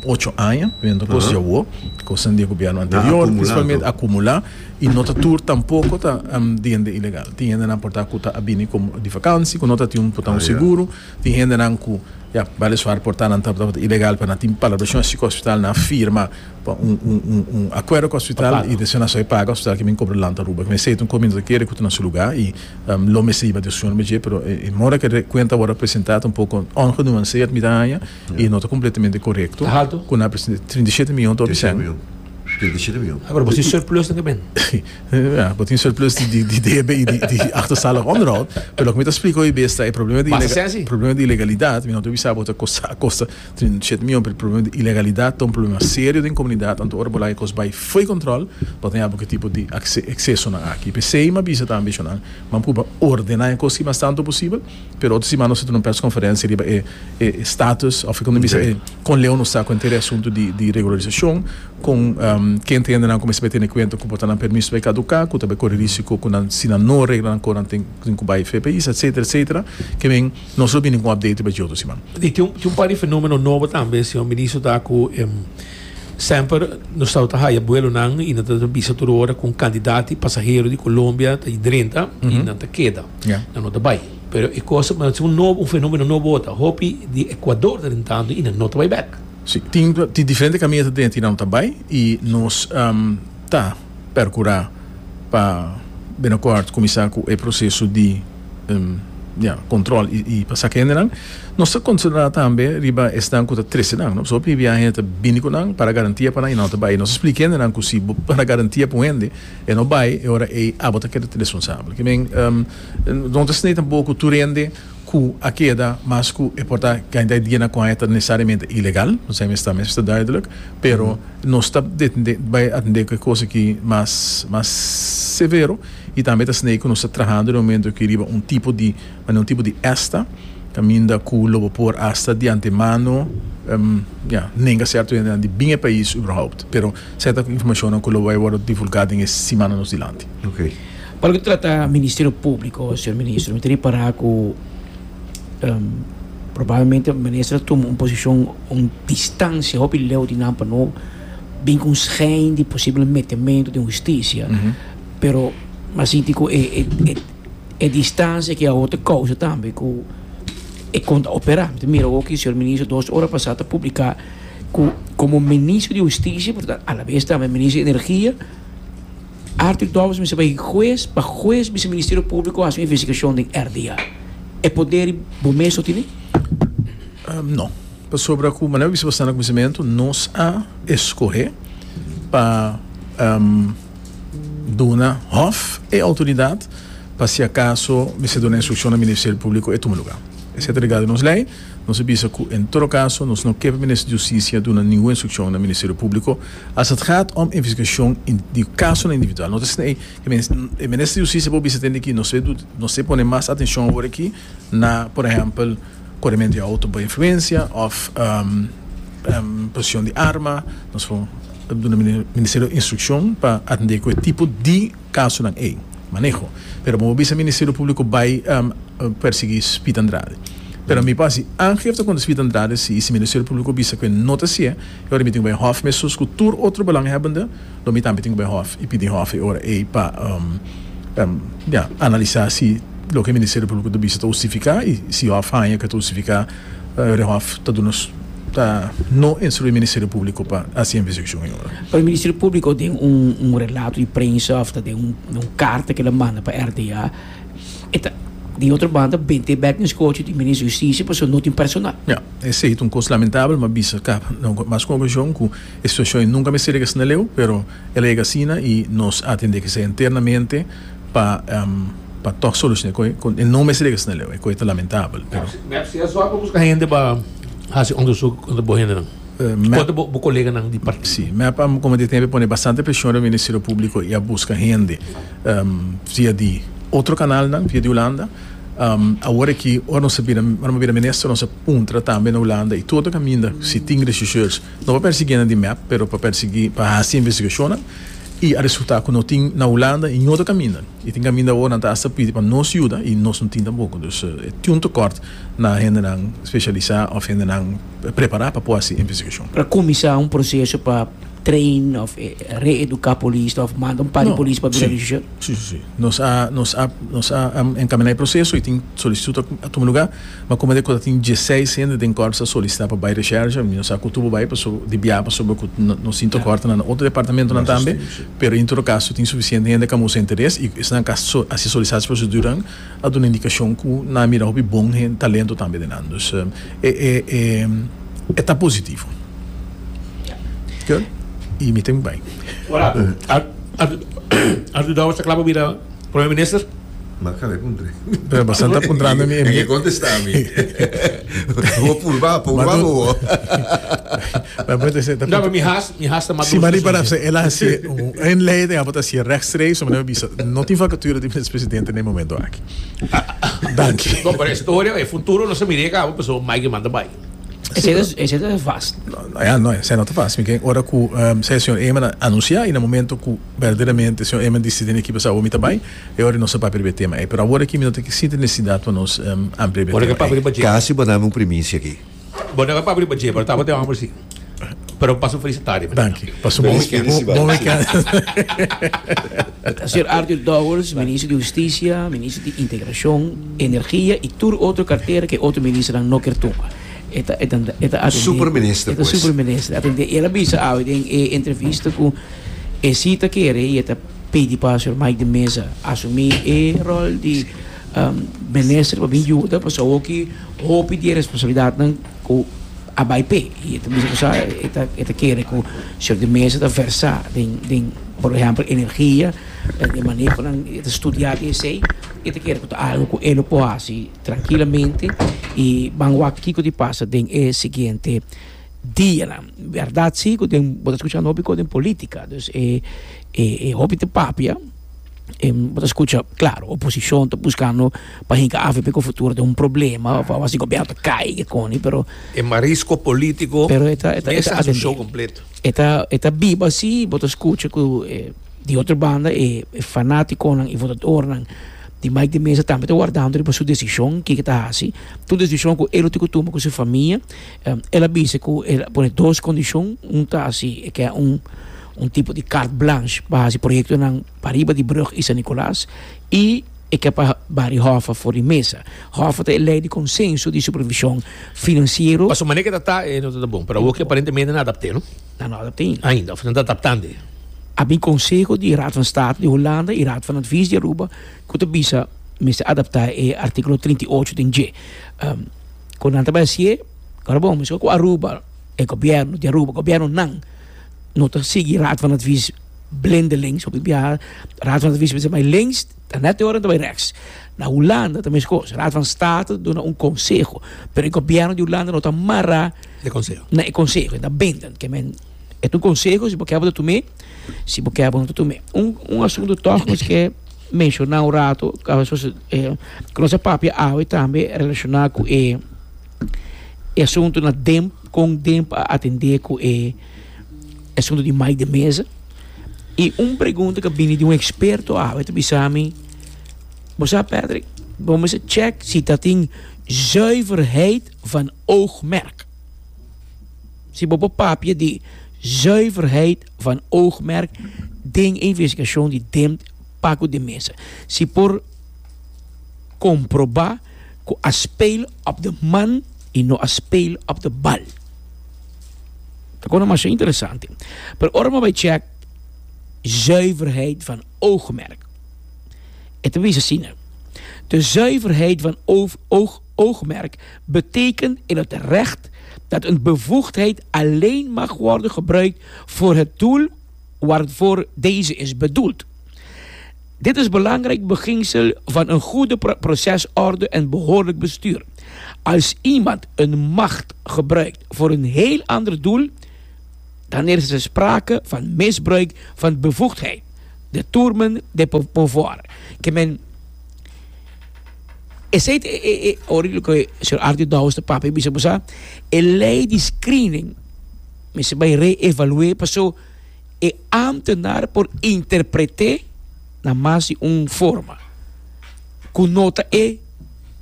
Speaker 1: ocho aña viendo cos di awo, cosnan di e gobierno anterior principalmente acumula y no ta tur tampoco ta di hende ilegal. Tin hendenan por ta cu ta a bini como di vakantie cu no ta tin por ta un seguro, tin hendenan cu ya weliswaar por ta nan tabata ilegal pero nan tin palabracion así cu hospital nan a firma pa un un un acuerdo cu hospital y despues nan a soy paga hospital ki bin cobra land Aruba. Esey ta un cos mi no ta kere cu ta na su lugar y Lo mester hiba discusion riba dje, pero e mora ku e kuenta a wòrdu presentá ta un poko ongenuanseerd mi ta haña i no ta kompletamente korekto.
Speaker 2: Ta haltu?
Speaker 1: Ku nan a presentá 37 mion ta hopi sèn.
Speaker 4: 37 mion.
Speaker 2: Ah, pero bo tin surplus nan ke ben.
Speaker 1: Ja, bo tin surplus di di debe i di achterstallig onderhoud, pero loke mi ta splika hoy bes ta e problema di
Speaker 2: Basta sèn si.
Speaker 1: problema di ilegalidat, mi no ta bisa bo ta kosta kosta 37 mion, pero e problema di ilegalidat ta un problema serio den komunidat, anto ora bo laga e kos bai Fo'i control, bo ta yaba ku e tipo di excesonan aki. P'esei m'a bisa tambe shonnan, Ban purba ordena e kos ki mas tantu posibel, pero otro siman nos ta tene un persconferencia riba e e status of kon ta bisa e kon leu nos ta ku henter e asuntu di di regularisashon, kon ken ta hendenan ku mester bai tene kuenta ku por ta nan permiso bai kaduká, ku ta bai kore risiko ku nan si nan no regla nan kon nan tin ku bai fe pais, etcetera, etcetera. Ke men nos lo bini ku un update riba dje otro siman.
Speaker 2: I tin un par di fenomeno nobo tambe, señor Ministro, ta ku Semper nos tabata haya buelonan y nan ta bisa tur ora cu un cantidad di pasahero di Colombia ta drenta y nan ta keda, nan no ta bay. Pero e cosa, un nobo, un fenomeno nobo ta hopi di Ecuador ta drentando y nan no ta bay bek.
Speaker 1: Si, tin tin diferente caminda ta drenta y nan no ta bay y nos ta percura pa binnenkort cuminsa cu e proceso di ya, control y pa saca hendenan. Nos ta considera tambe riba esnan cu ta trece nan, no? Pasobra hopi biaha hende ta bini cu nan para garantia pa nan y nan no ta bay. Nos ta splica hendenan cu si bo para garantia pa un hende, e no bay, e ora ey abo ta keda responsabel. Ke men, no ta esney tampoco cu tur hende cu a keda mas cu e por ta cantidad di dianan cu haña ta necesariamente ilegal, nos ta mes ta duidelijk, pero nos ta bay atende cu e cos aki mas mas severo y tambe ta esney cu nos ta trahando den momento aki riba un tipo di manera un tipo di esta caminda cu lo bo por hasta di antemano ya nenga cierto hendenan di bin e pais überhaupt pero cierto informacionnan cu lo bay wordo divulga den e simannan nos dilanti.
Speaker 4: Okay.
Speaker 3: Pa loke ta trata Ministerio Publico, señor Ministro, mi ta ripara cu probablemente minister a tuma un posicion, un distancia hopi leu di nan pa no bin cu un schijn di posibel metemento den husticia, pero mi a sinti cu e E distancia ki awor ta causa tambe cu e con ta opera. Mi ta mira awor ki señor ministro dos ora pasa ta publica cu como ministro di husticia pero ta alabes tambe ministro di energia, Arthur Dowers mester bay huez pa huez bisa ministerio publico haci un investigacion den RDA. E poder bo mes no tene?
Speaker 1: No. Pasobra cu manera mi bisa bastante na cuminsamentu nos a escoge pa. Duna Hof e outoridat pa si akaso mester duna instrukshon na Ministerio Públiko e tuma lugá. Esei ta regla di nos lei. Nos a bisa ku en todo kaso nos no ke pa Minister di Hustisia duna ningun instrukshon na Ministerio Públiko as het gaat om investigashon di kasonan individual. No ta asina ei. E Minister di Hustisia por bisa tende ki nos nos te pone mas atenshon awor aki na por ehèmpel korementu di outo por influensia òf posishon di arma. Nos por. duna ministerio instrukshon pa atendé ku e tipo di kasonan ei, maneho. Pero bo por bisa Ministerio Públiko bai persiguí Speed Andrade. Pero mi por hasi aangifte kontra Speed Andrade si i si Ministerio Públiko bisa ku e no ta hasié, e ora mi tin ku bai hòf mesun ku tur otro belanghebbende, lo mi tambe tin ku bai hòf i pidi hòf e ora ei pa ya analisá si loke Ministerio Públiko ta bisa ta hustifiká i si hòf haña ku e ta hustifiká e hòf ta duna ta no instruí Ministerio Públiko pa hasi investigashon e ora.
Speaker 3: Pero Ministerio Públiko den un un relato di prensa òf ta den un un karta ku el a manda pa RDA e ta di otro banda bente bèk den skochi di Minister di Hustisia pasobra no tin personal.
Speaker 1: Ya, esei ta un kos lamentabel, mi a bisa kaba na mas ku un okashon ku E situacion ei nunca mester yega asina leu, pero el a yega asina y nos a atende esei internamente pa pa toch soluciona e coe. E no mester yega asina leu, e coe ta lamentabel, pero.
Speaker 2: Mep si a zorg pa busca hende pa haci onderzoek contra bo hendenan, contra bo coleganan di partido.
Speaker 1: Si, mep a como di tempo pone bastante presion riba Ministerio Publico y a busca hende via di otro canalnan, via di Hulanda. Awor aki ora nos a bira, ora mi a bira minister nos a puntra tambe na Hulanda y tur otro caminda si tin rechercheurs. No pa persiguí nan di mep, pero pa persiguí, pa hasi investigashonnan i a resultá ku no tin na Hulanda i otro kaminda. I tin kaminda awor nan ta asta pidi pa nos yuda i nos no tin tampoko. Dus e tin un tekort na hendenan spesialisá òf hendenan prepará pa por hasi investigashon.
Speaker 3: Pero a kuminsá un proseso pa train òf reeduká polis òf manda un par di polis pa bira rechercheur?
Speaker 1: Sí, sí, sí. Nos a, nos a, nos a enkaminá e proseso i tin solisitut a tuma lugá. Ma como de cu ta tin dieseis hende den corps a solicita pa bay recherche, mi no sa cu tubo bay paso di bia pasobra cu nos tin tocort na otro departamentonan tambe, pero en todo caso tin suficiente hende cu a mustra interes y esnan cu a haci solicita proceduran a duna indicacion cu nan a mira hopi bon talento tambe den nan. Dus e e ta positivo. Good. Y mi tin cu bay.
Speaker 2: Ora Arthur Dowers ta cla pa bira Prome Minister?
Speaker 4: Ma kaba e puntra.
Speaker 1: Pero bastante ta puntrando mi.
Speaker 4: En ke kontestá mi. Bo purba, purba bo.
Speaker 2: No, pero mi has, mi has ta mas
Speaker 1: Si mari para se el a hasi un inleiding, abo ta hasi rechtstreeks, so mi bisa, no tin vacatura di minister-presidente na e momento aki. Danki.
Speaker 2: No, pero e storia, e futuro no sa mira kaba, pasobra Mike manda bai.
Speaker 3: Esei ta vast.
Speaker 1: No, ya, no, esei no ta vast. Mi ke ora ku señor Eman a anunsia i na momento ku berdaderamente señor Eman disidi den ekipo sa awor mi ta bai, E ora nos a papia riba e tema ei, pero awor aki mi no ta sinti nesesidat pa nos amplia riba e tema ei.
Speaker 4: Kasi bo dami un primisia aki.
Speaker 2: Bo no a papia riba dje, pero tabata e homber si. Pero pasa un felis tardi.
Speaker 1: Danki. Pasa un bon weekend.
Speaker 3: Señor Arthur Dowers, Minister di Husticia, Minister di Integracion, Energia y tur otro cartera cu e otro ministernan no kier tuma. E ta, e ta, e ta atende.
Speaker 4: Super minister,
Speaker 3: E ta
Speaker 4: pues.
Speaker 3: super minister. Atende. El a bisa awe den e entrevista cu e si ta kere y e ta. Pidi pa señor Mike de Meza asumi e rol di minister pa bin yuda pasobra awoki hopi di e responsabilidadnan ku a bai p'e y e ta bisa ku sa e ta e ta kere ku señor de Meza ta versa den den por ehempel energia den manehonan e ta studia di esei e ta kere ku ta algo ku e lo por hasi trankilamente y ban wak kiko di pasa den e siguiente dianan. Berdad si cu den bo ta scucha hopi cos den politica dus e e hopi ta papia e bo ta scucha claro oposicion ta buscando pa hinca avp cu futuro den un problema of algo asi gobierno ta cay ke coni pero
Speaker 2: E marisco politico
Speaker 3: pero e ta e ta
Speaker 2: mester haci un show completo.
Speaker 3: E ta e ta biba asi bo ta scucha cu e di otro banda e fanaticonan y votadornan di Mike de Meza tambe ta wardando riba su decision kiko ta haci tur decision cu e lo tin cu tuma cu su famia. El a bisa ku el a pone dos kondishon, un ta hasi e ke un un tipo di carte blanche pa hasi proyektonan pariba di brug i San Nicolas i e ke pa bari Hoffa for di mesa. Hoffa ta e lei di konsenso di supervishon finansiero.
Speaker 2: Pasobra manera ke ta ta e no ta ta bon, pero awor ke aparentemente nan a adapt'é no?
Speaker 3: Nan no a adapt'é ainda.
Speaker 2: Ainda, òf nan ta adaptand'é.
Speaker 3: A bin konseho di Raad van State di Hulanda i Raad van Advies di Aruba ku ta bisa mester adaptá e artíkulo 38 den dje. Ku nan ta bai hasié, ora bon, meskos ku Aruba, e gobièrnu di Aruba, gobièrnunan no ta sigui Raad van Advies blindelings, hopi biaha Raad van Advies mester bai links, ta nèt e ora nan ta bai rèks. Na Hulanda ta meskos, Raad van State ta duna un konseho, pero e gobièrnu di Hulanda no ta mará na e konseho, e ta bindend. Ke men, e ta un konseho, si bo ke bo ta tum'é, si bo ke bo no ta tum'é. Un un asuntu tòg nos ke. Menshoná un rato ku nos a papia awe tambe relashoná ku e e asuntu na DEMP kon DEMP a atendé ku e. asunto di Mike de Meza. Y un pregunta cu a bini di un experto awe ta bisa mi, Bo sa Patrick, bo mester check si ta tin zuiverheid van oogmerk. Si bo por papia di zuiverheid van oogmerk den e investigacion di Dempt Paco de Meza. Si por comproba cu a speel op de man y no a speel op de bal. Ta kona masha interesante. Pero ora bo bai check zuiverheid van oogmerk. E ta bisa asina, De zuiverheid van oog, oogmerk betekent in het recht dat een bevoegdheid alleen mag worden gebruikt voor het doel waarvoor deze is bedoeld. Dit is belangrijk beginsel van een goede procesorde en behoorlijk bestuur. Als iemand een macht gebruikt voor een heel ander doel, dan is er sprake van misbruik van bevoegdheid. Detournement de pouvoir. Ke men esei ta e ora loke señor Arthur Dowers ta papia bisa bo sa e ley di screening mester bai reevalué paso e ambtenaar por interpreté na mas di un forma ku no ta e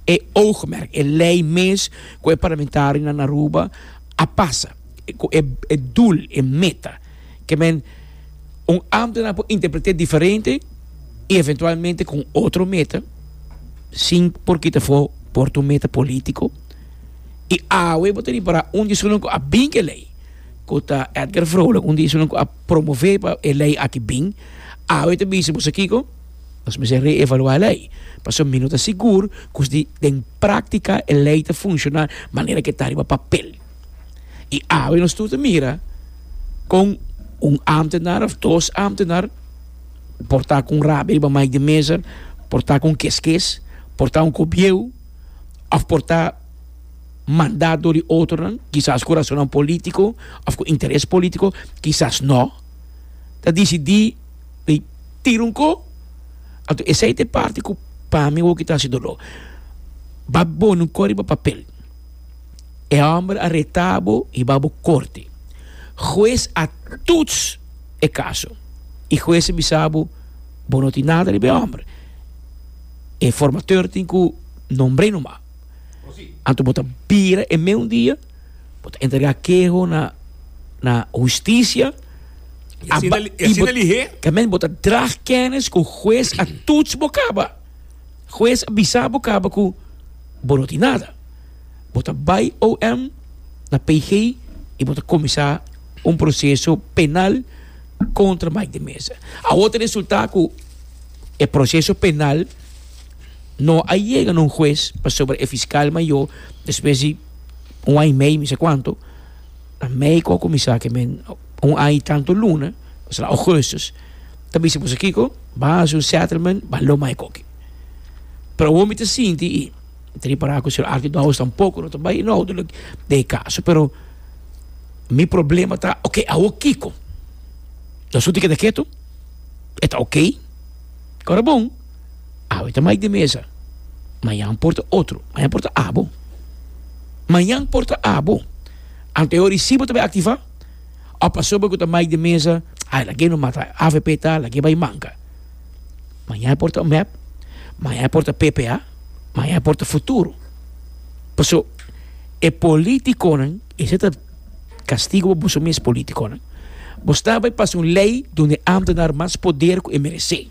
Speaker 3: e oogmerk e ley mes ku e parlamentarionan na Aruba a pasa ku e doel e meta. Ke men un ámtenar por interpreté diferente i eventualmente ku un otro meta sin por kita afó por ta un meta polítiko. I awe bo ta ripará un di esunnan ku a bin ku e lei, ku ta Edgar Vrolijk, un di esunnan ku a promové pa e lei aki bin, awe ta bisa bo sa kiko? Nos mester reevaluá e lei, pasobra mi no ta sigur ku si den práktika e lei ta funshoná manera ku e ta riba papel. I awe nos tur ta mira kon un ámtenar òf dos ámtenar por ta ku un rabia riba Mike de Meza, por ta ku un keskes, por ta un kobieu òf por ta mandá dor di otronan, kisas ku rasonnan polítiko òf ku interes polítiko, kisas no, ta disidí di tira un ko. Anto esei ta e parti ku pa mi awor ki ta hasi doló. Ba pone un ko riba papel. E hòmber a reta bo i ba bo korte. Hues a tuts e kaso i hues a bisa bo, bo no tin nada riba e hòmber. E formateur tin ku nombr'é numa. Anto bo ta bira e meun dia, bo ta entregá keho na na hustisia.
Speaker 2: I asina i asina lihé.
Speaker 3: Kamen bo ta drag kennis ku hues a tuts bo kaba. Hues a bisa bo kaba ku bo no tin nada. Bo ta bai OM na PG y bo ta cuminsa un proceso penal contra Mike de Meza. Awor ta resulta cu e proceso penal no a yega na un hues pasobra e fiscal mayor despues di un aña y medio mi sa cuanto na mei cu a cuminsa ke men un aña y tanto luna osea augustus ta bisa boso kico ban haci un settlement ban lo Mike oki. Pero awor mi ta sinti y. Mi ta ripará ku señor Arthur Dowers tampoko no ta bai inhoudelijk den e kaso, pero mi problema ta, oke, awor kiko? Nos tur tin keda ketu? E ta oke? Kora bon, awe ta Mike de Meza, mañan por ta otro, mañan por ta abo. Mañan por ta abo. Anto e ora si bo ta bai aktivá, òf pasobra ku ta Mike de Meza, ai lag'é no mata avp ta, lag'é bai manka. Mañan por ta mep, mañan por ta PPA, mañan por ta futuro. Paso e politiconan, ese ta castigo pa boso mes politiconan. Bo sta bay pasa un ley donde ambtenaar mas poder cu e merece.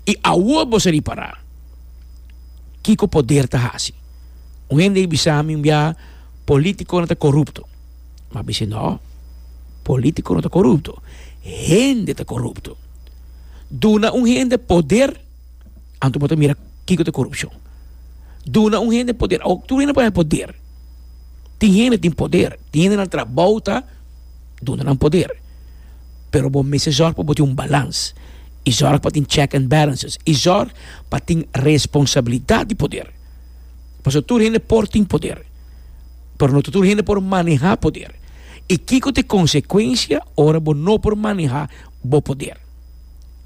Speaker 3: Y awor bo sa ripara kico poder ta haci. Un hende a bisa mi un bia politiconan ta corupto. Ma bisa no, politico no ta corupto, hende ta corupto. Duna un hende poder, anto bo ta mira kiko ta korupshon. Duna un hende poder, awor tur hende por haña poder. Tin hende tin poder, tin hende nan trabou ta duna nan poder. Pero bo mester zòrg pa bo tin un balans i zòrg pa tin check and balances i zòrg pa tin responsabilidat di poder. Pasobra tur hende por tin poder, pero no ta tur hende por manehá poder. I kiko ta e konsekuensia ora bo no por manehá bo poder.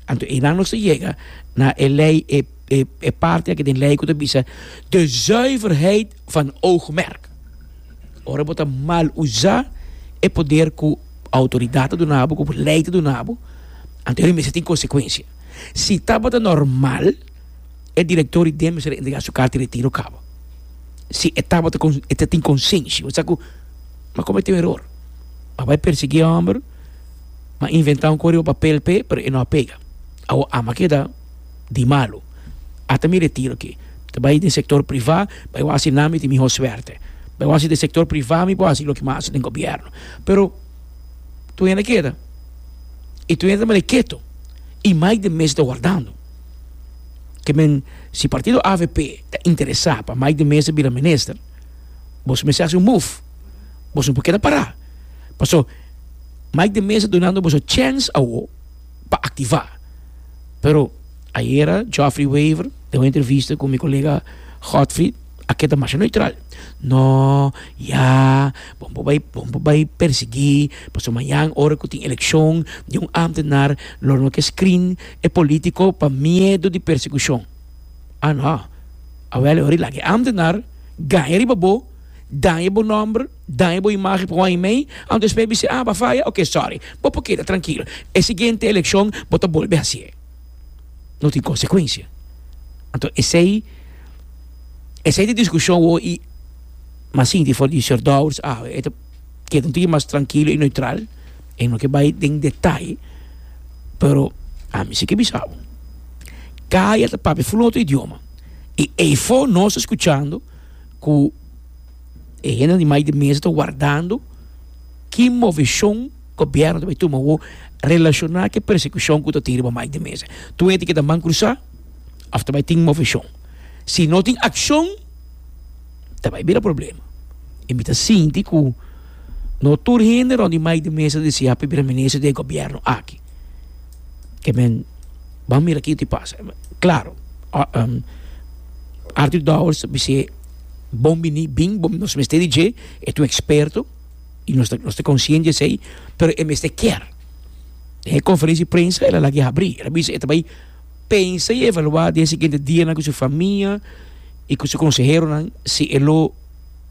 Speaker 3: Anto einan nos ta yega na e lei, e, e, e parti aki den lei ku ta bisa de zuiverheid van oogmerk. Ora bo ta mal usa e poder ku outoridat ta duna bo, ku lei ta duna bo, anto e mester tin konsekuensia. Si tabata normal, e direktor di den mester a entregá su karta di retiro kaba. Si e tabata e ta tin konsenshi, bo sa ku mi a kometé un eror, mi a bai persiguí e hòmber, mi a inventá un kos riba papel p'e, pero e no a pega. Awor ami a keda di malu. Ata mi retiro aki. Ta bai den sektor privá, bai wak si nan mi tin mihó suerte. Bai wak si den sektor privá mi por hasi loke mi a hasi den gobièrnu. Pero tur hende a keda i tur hende ta manda ketu i Mike de Meza ta wardando. Ke men si partido avp ta interesá pa Mike de Meza bira minister, boso mester hasi un move. Boso no por keda pará. Paso Mike de Meza dunando boso chèns awo pa aktivá. Pero ayera Geoffrey Wever den un entrevista ku mi kolega Godfried a keda masha neutral. No, ya, bo por bai, bo por bai persiguí, pasobra mañan ora ku tin elekshon di un ámtenar lo no ke screen e polítiko pa miedu di persekushon. Ah no, awel e ora laga e ámtenar gaña riba bo, daña bo nòmber, daña bo imagen pa un aña i mei, anto despues bisa, ah, bo a faya? Ok, sorry, bo por keda trankilo. E siguiente elekshon bo ta bolbe hasié. No tin konsekuensia. Anto esei, esei ta e diskushon wou i mi a sinti for di señor Dowers awe, e ta keda un tiki mas trankilo i neutral, e no ke bai den detaye, pero ami si ke bisa bo, kaya ta papia ful otro idioma i eifo nos ta skuchando ku e hendenan di mai di mesa ta wardando ki moveshon gobièrnu ta bai tuma awor relashoná ku e persekushon ku ta tin riba mai di mesa. Tur hende keda man krusá òf ta bai tin moveshon? Si no tin akshon ta bai bira problema. I mi ta sinti ku no tur hende rònt di mai di mesa ta deseá pa bira minister di e gobièrnu aki. Ke men ban mira kiko ta pasa. Klaro Arthur Dowers ta bis'é bon bini bin bo nos mester di dje e ta un eksperto i nos ta nos ta konsiente di esei pero e mester kier. Den e konferensia di prensa el a laga e habrí el a bisa e ta bai pensa i evaluá den e siguiente dianan ku su famia i ku su konseheronan si e lo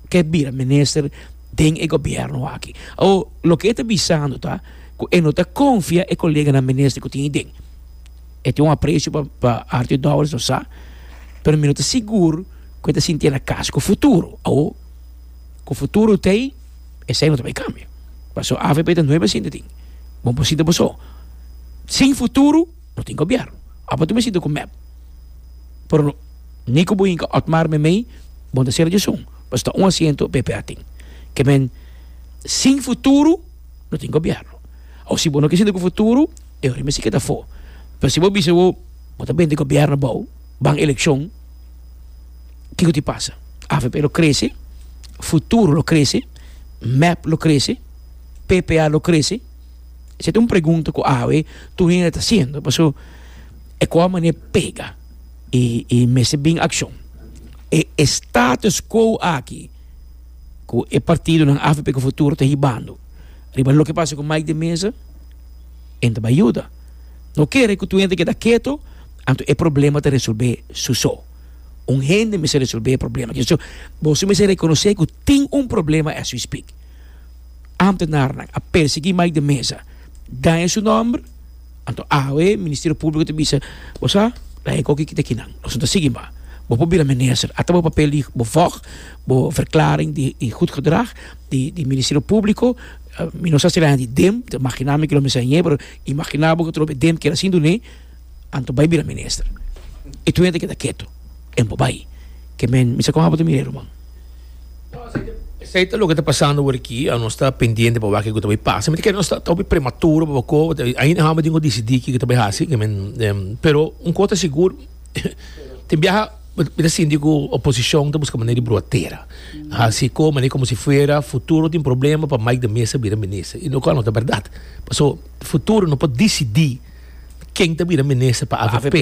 Speaker 3: ke bira minister den e gobièrnu aki. Awor loke e ta bisando ta ku e no ta konfia e koleganan minister ku tin ei den. E tin un apresio pa pa Arthur Dowers nos sa, pero mi no ta sigur ku e ta sintié na kas ku futuro. Awor ku futuro t'ei, esei no ta bai kambia. Pasobra avp ta nuebe sinti tin. Bo por sinti bo so. Sin futuro no tin gobièrnu. Abo ta bai sinti ku mep. Pero ni ku bo hinka Otmar meimei, bo no ta sera djesun. Pasobra ta un asiento PPA tin. Ke men sin futuro no tin gobièrnu. Awor si bo no ke sinti ku futuro, e ora mester keda afó. Pero si bo bisa bo, bo ta bende gobièrnu abou, ban elekshon, kiko ti pasa? Avp lo krese, futuro lo krese, mep lo krese, PPA lo krese? Esei ta un pregunta ku awe tur hende ta hasiendo, pasobra e kua manera pega i i mester bin akshon. E status quo aki ku e partidonan avp ku futuro ta hibando riba loke pasa ku Mike de Meza, e ta bai yuda. No kere ku tur hende keda keto, anto e problema ta resolbe su so. Un hende mester resolbe e problema. So, boso mester rekonosé ku tin un problema as we speak. Ambtenarnan a persiguí Mike de Meza, daña su nòmber, anto awe Ministerio Públiko ta bisa, bo sa, laga e koki kita kinan, nos no ta sigui mas. Bo por bira minister, ata bo papel di bo vòg, bo verklaring di goed gedrag di di Ministerio Públiko, Mi no sa si la hende dem, ta imaginá mi ku lo mester hañ'é, pero imaginá bo ku trobe dem keda sin dun'é, anto bai bira minister. I tur hende keda ketu, en bo bai. Ke men, mi sa kon abo ta mir'é, ruman.
Speaker 2: Esei ta loke ta pasando awor aki, nos ta pendiente pa wak kiko ta bai pasa. Mi ta kere nos ta hopi prematuro pa bako, ainda hamba tin ku disidí kiko ta bai hasi, ke men, pero un kos ta sigur, tin biaha. Mi ta sinti ku oposishon ta buska manera di brua tera. Hasi ko manera komo si fuera futuro tin problema pa Mike de Meza bira minister. I lokual no ta bèrdat. Paso futuro no por disidí ken ta bira minister pa avp.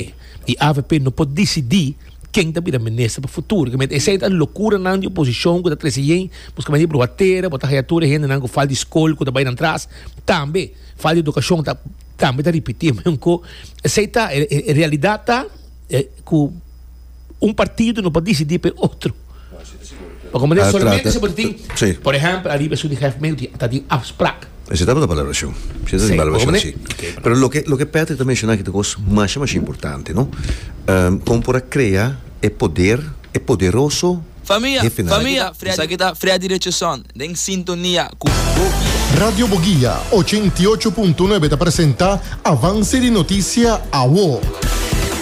Speaker 2: I avp no por disidí ken ta bira minister pa futuro. Esei ta lokuranan di oposishon ku ta trese yen buska manera di brua tera. Bo ta haya tur e hendenan ku fal di skol ku ta bai nan tras. Tambe fal di edukashon ta tambe ta ripití. Esei ta e realidat ta. Ku un partido no por disidí pa e otro. Pa komprendé, solamente si bo ta tin, por ehèmpel, ariba esun di hefmeel ta tin afsprak.
Speaker 4: Esei tabata palabrashon. Esei tabata palabrashon, si. Pero loke, loke Patrick ta menshoná aki ta kos masha, masha importante, no? Kon por a krea e poder, e poderoso
Speaker 5: Famia,
Speaker 4: hefenan.
Speaker 5: famia, esaki ta Freddy Richardson den sintonia ku Boguia.
Speaker 6: Radio Boguia 88.9 ta presenta Avance di Noticia Awo.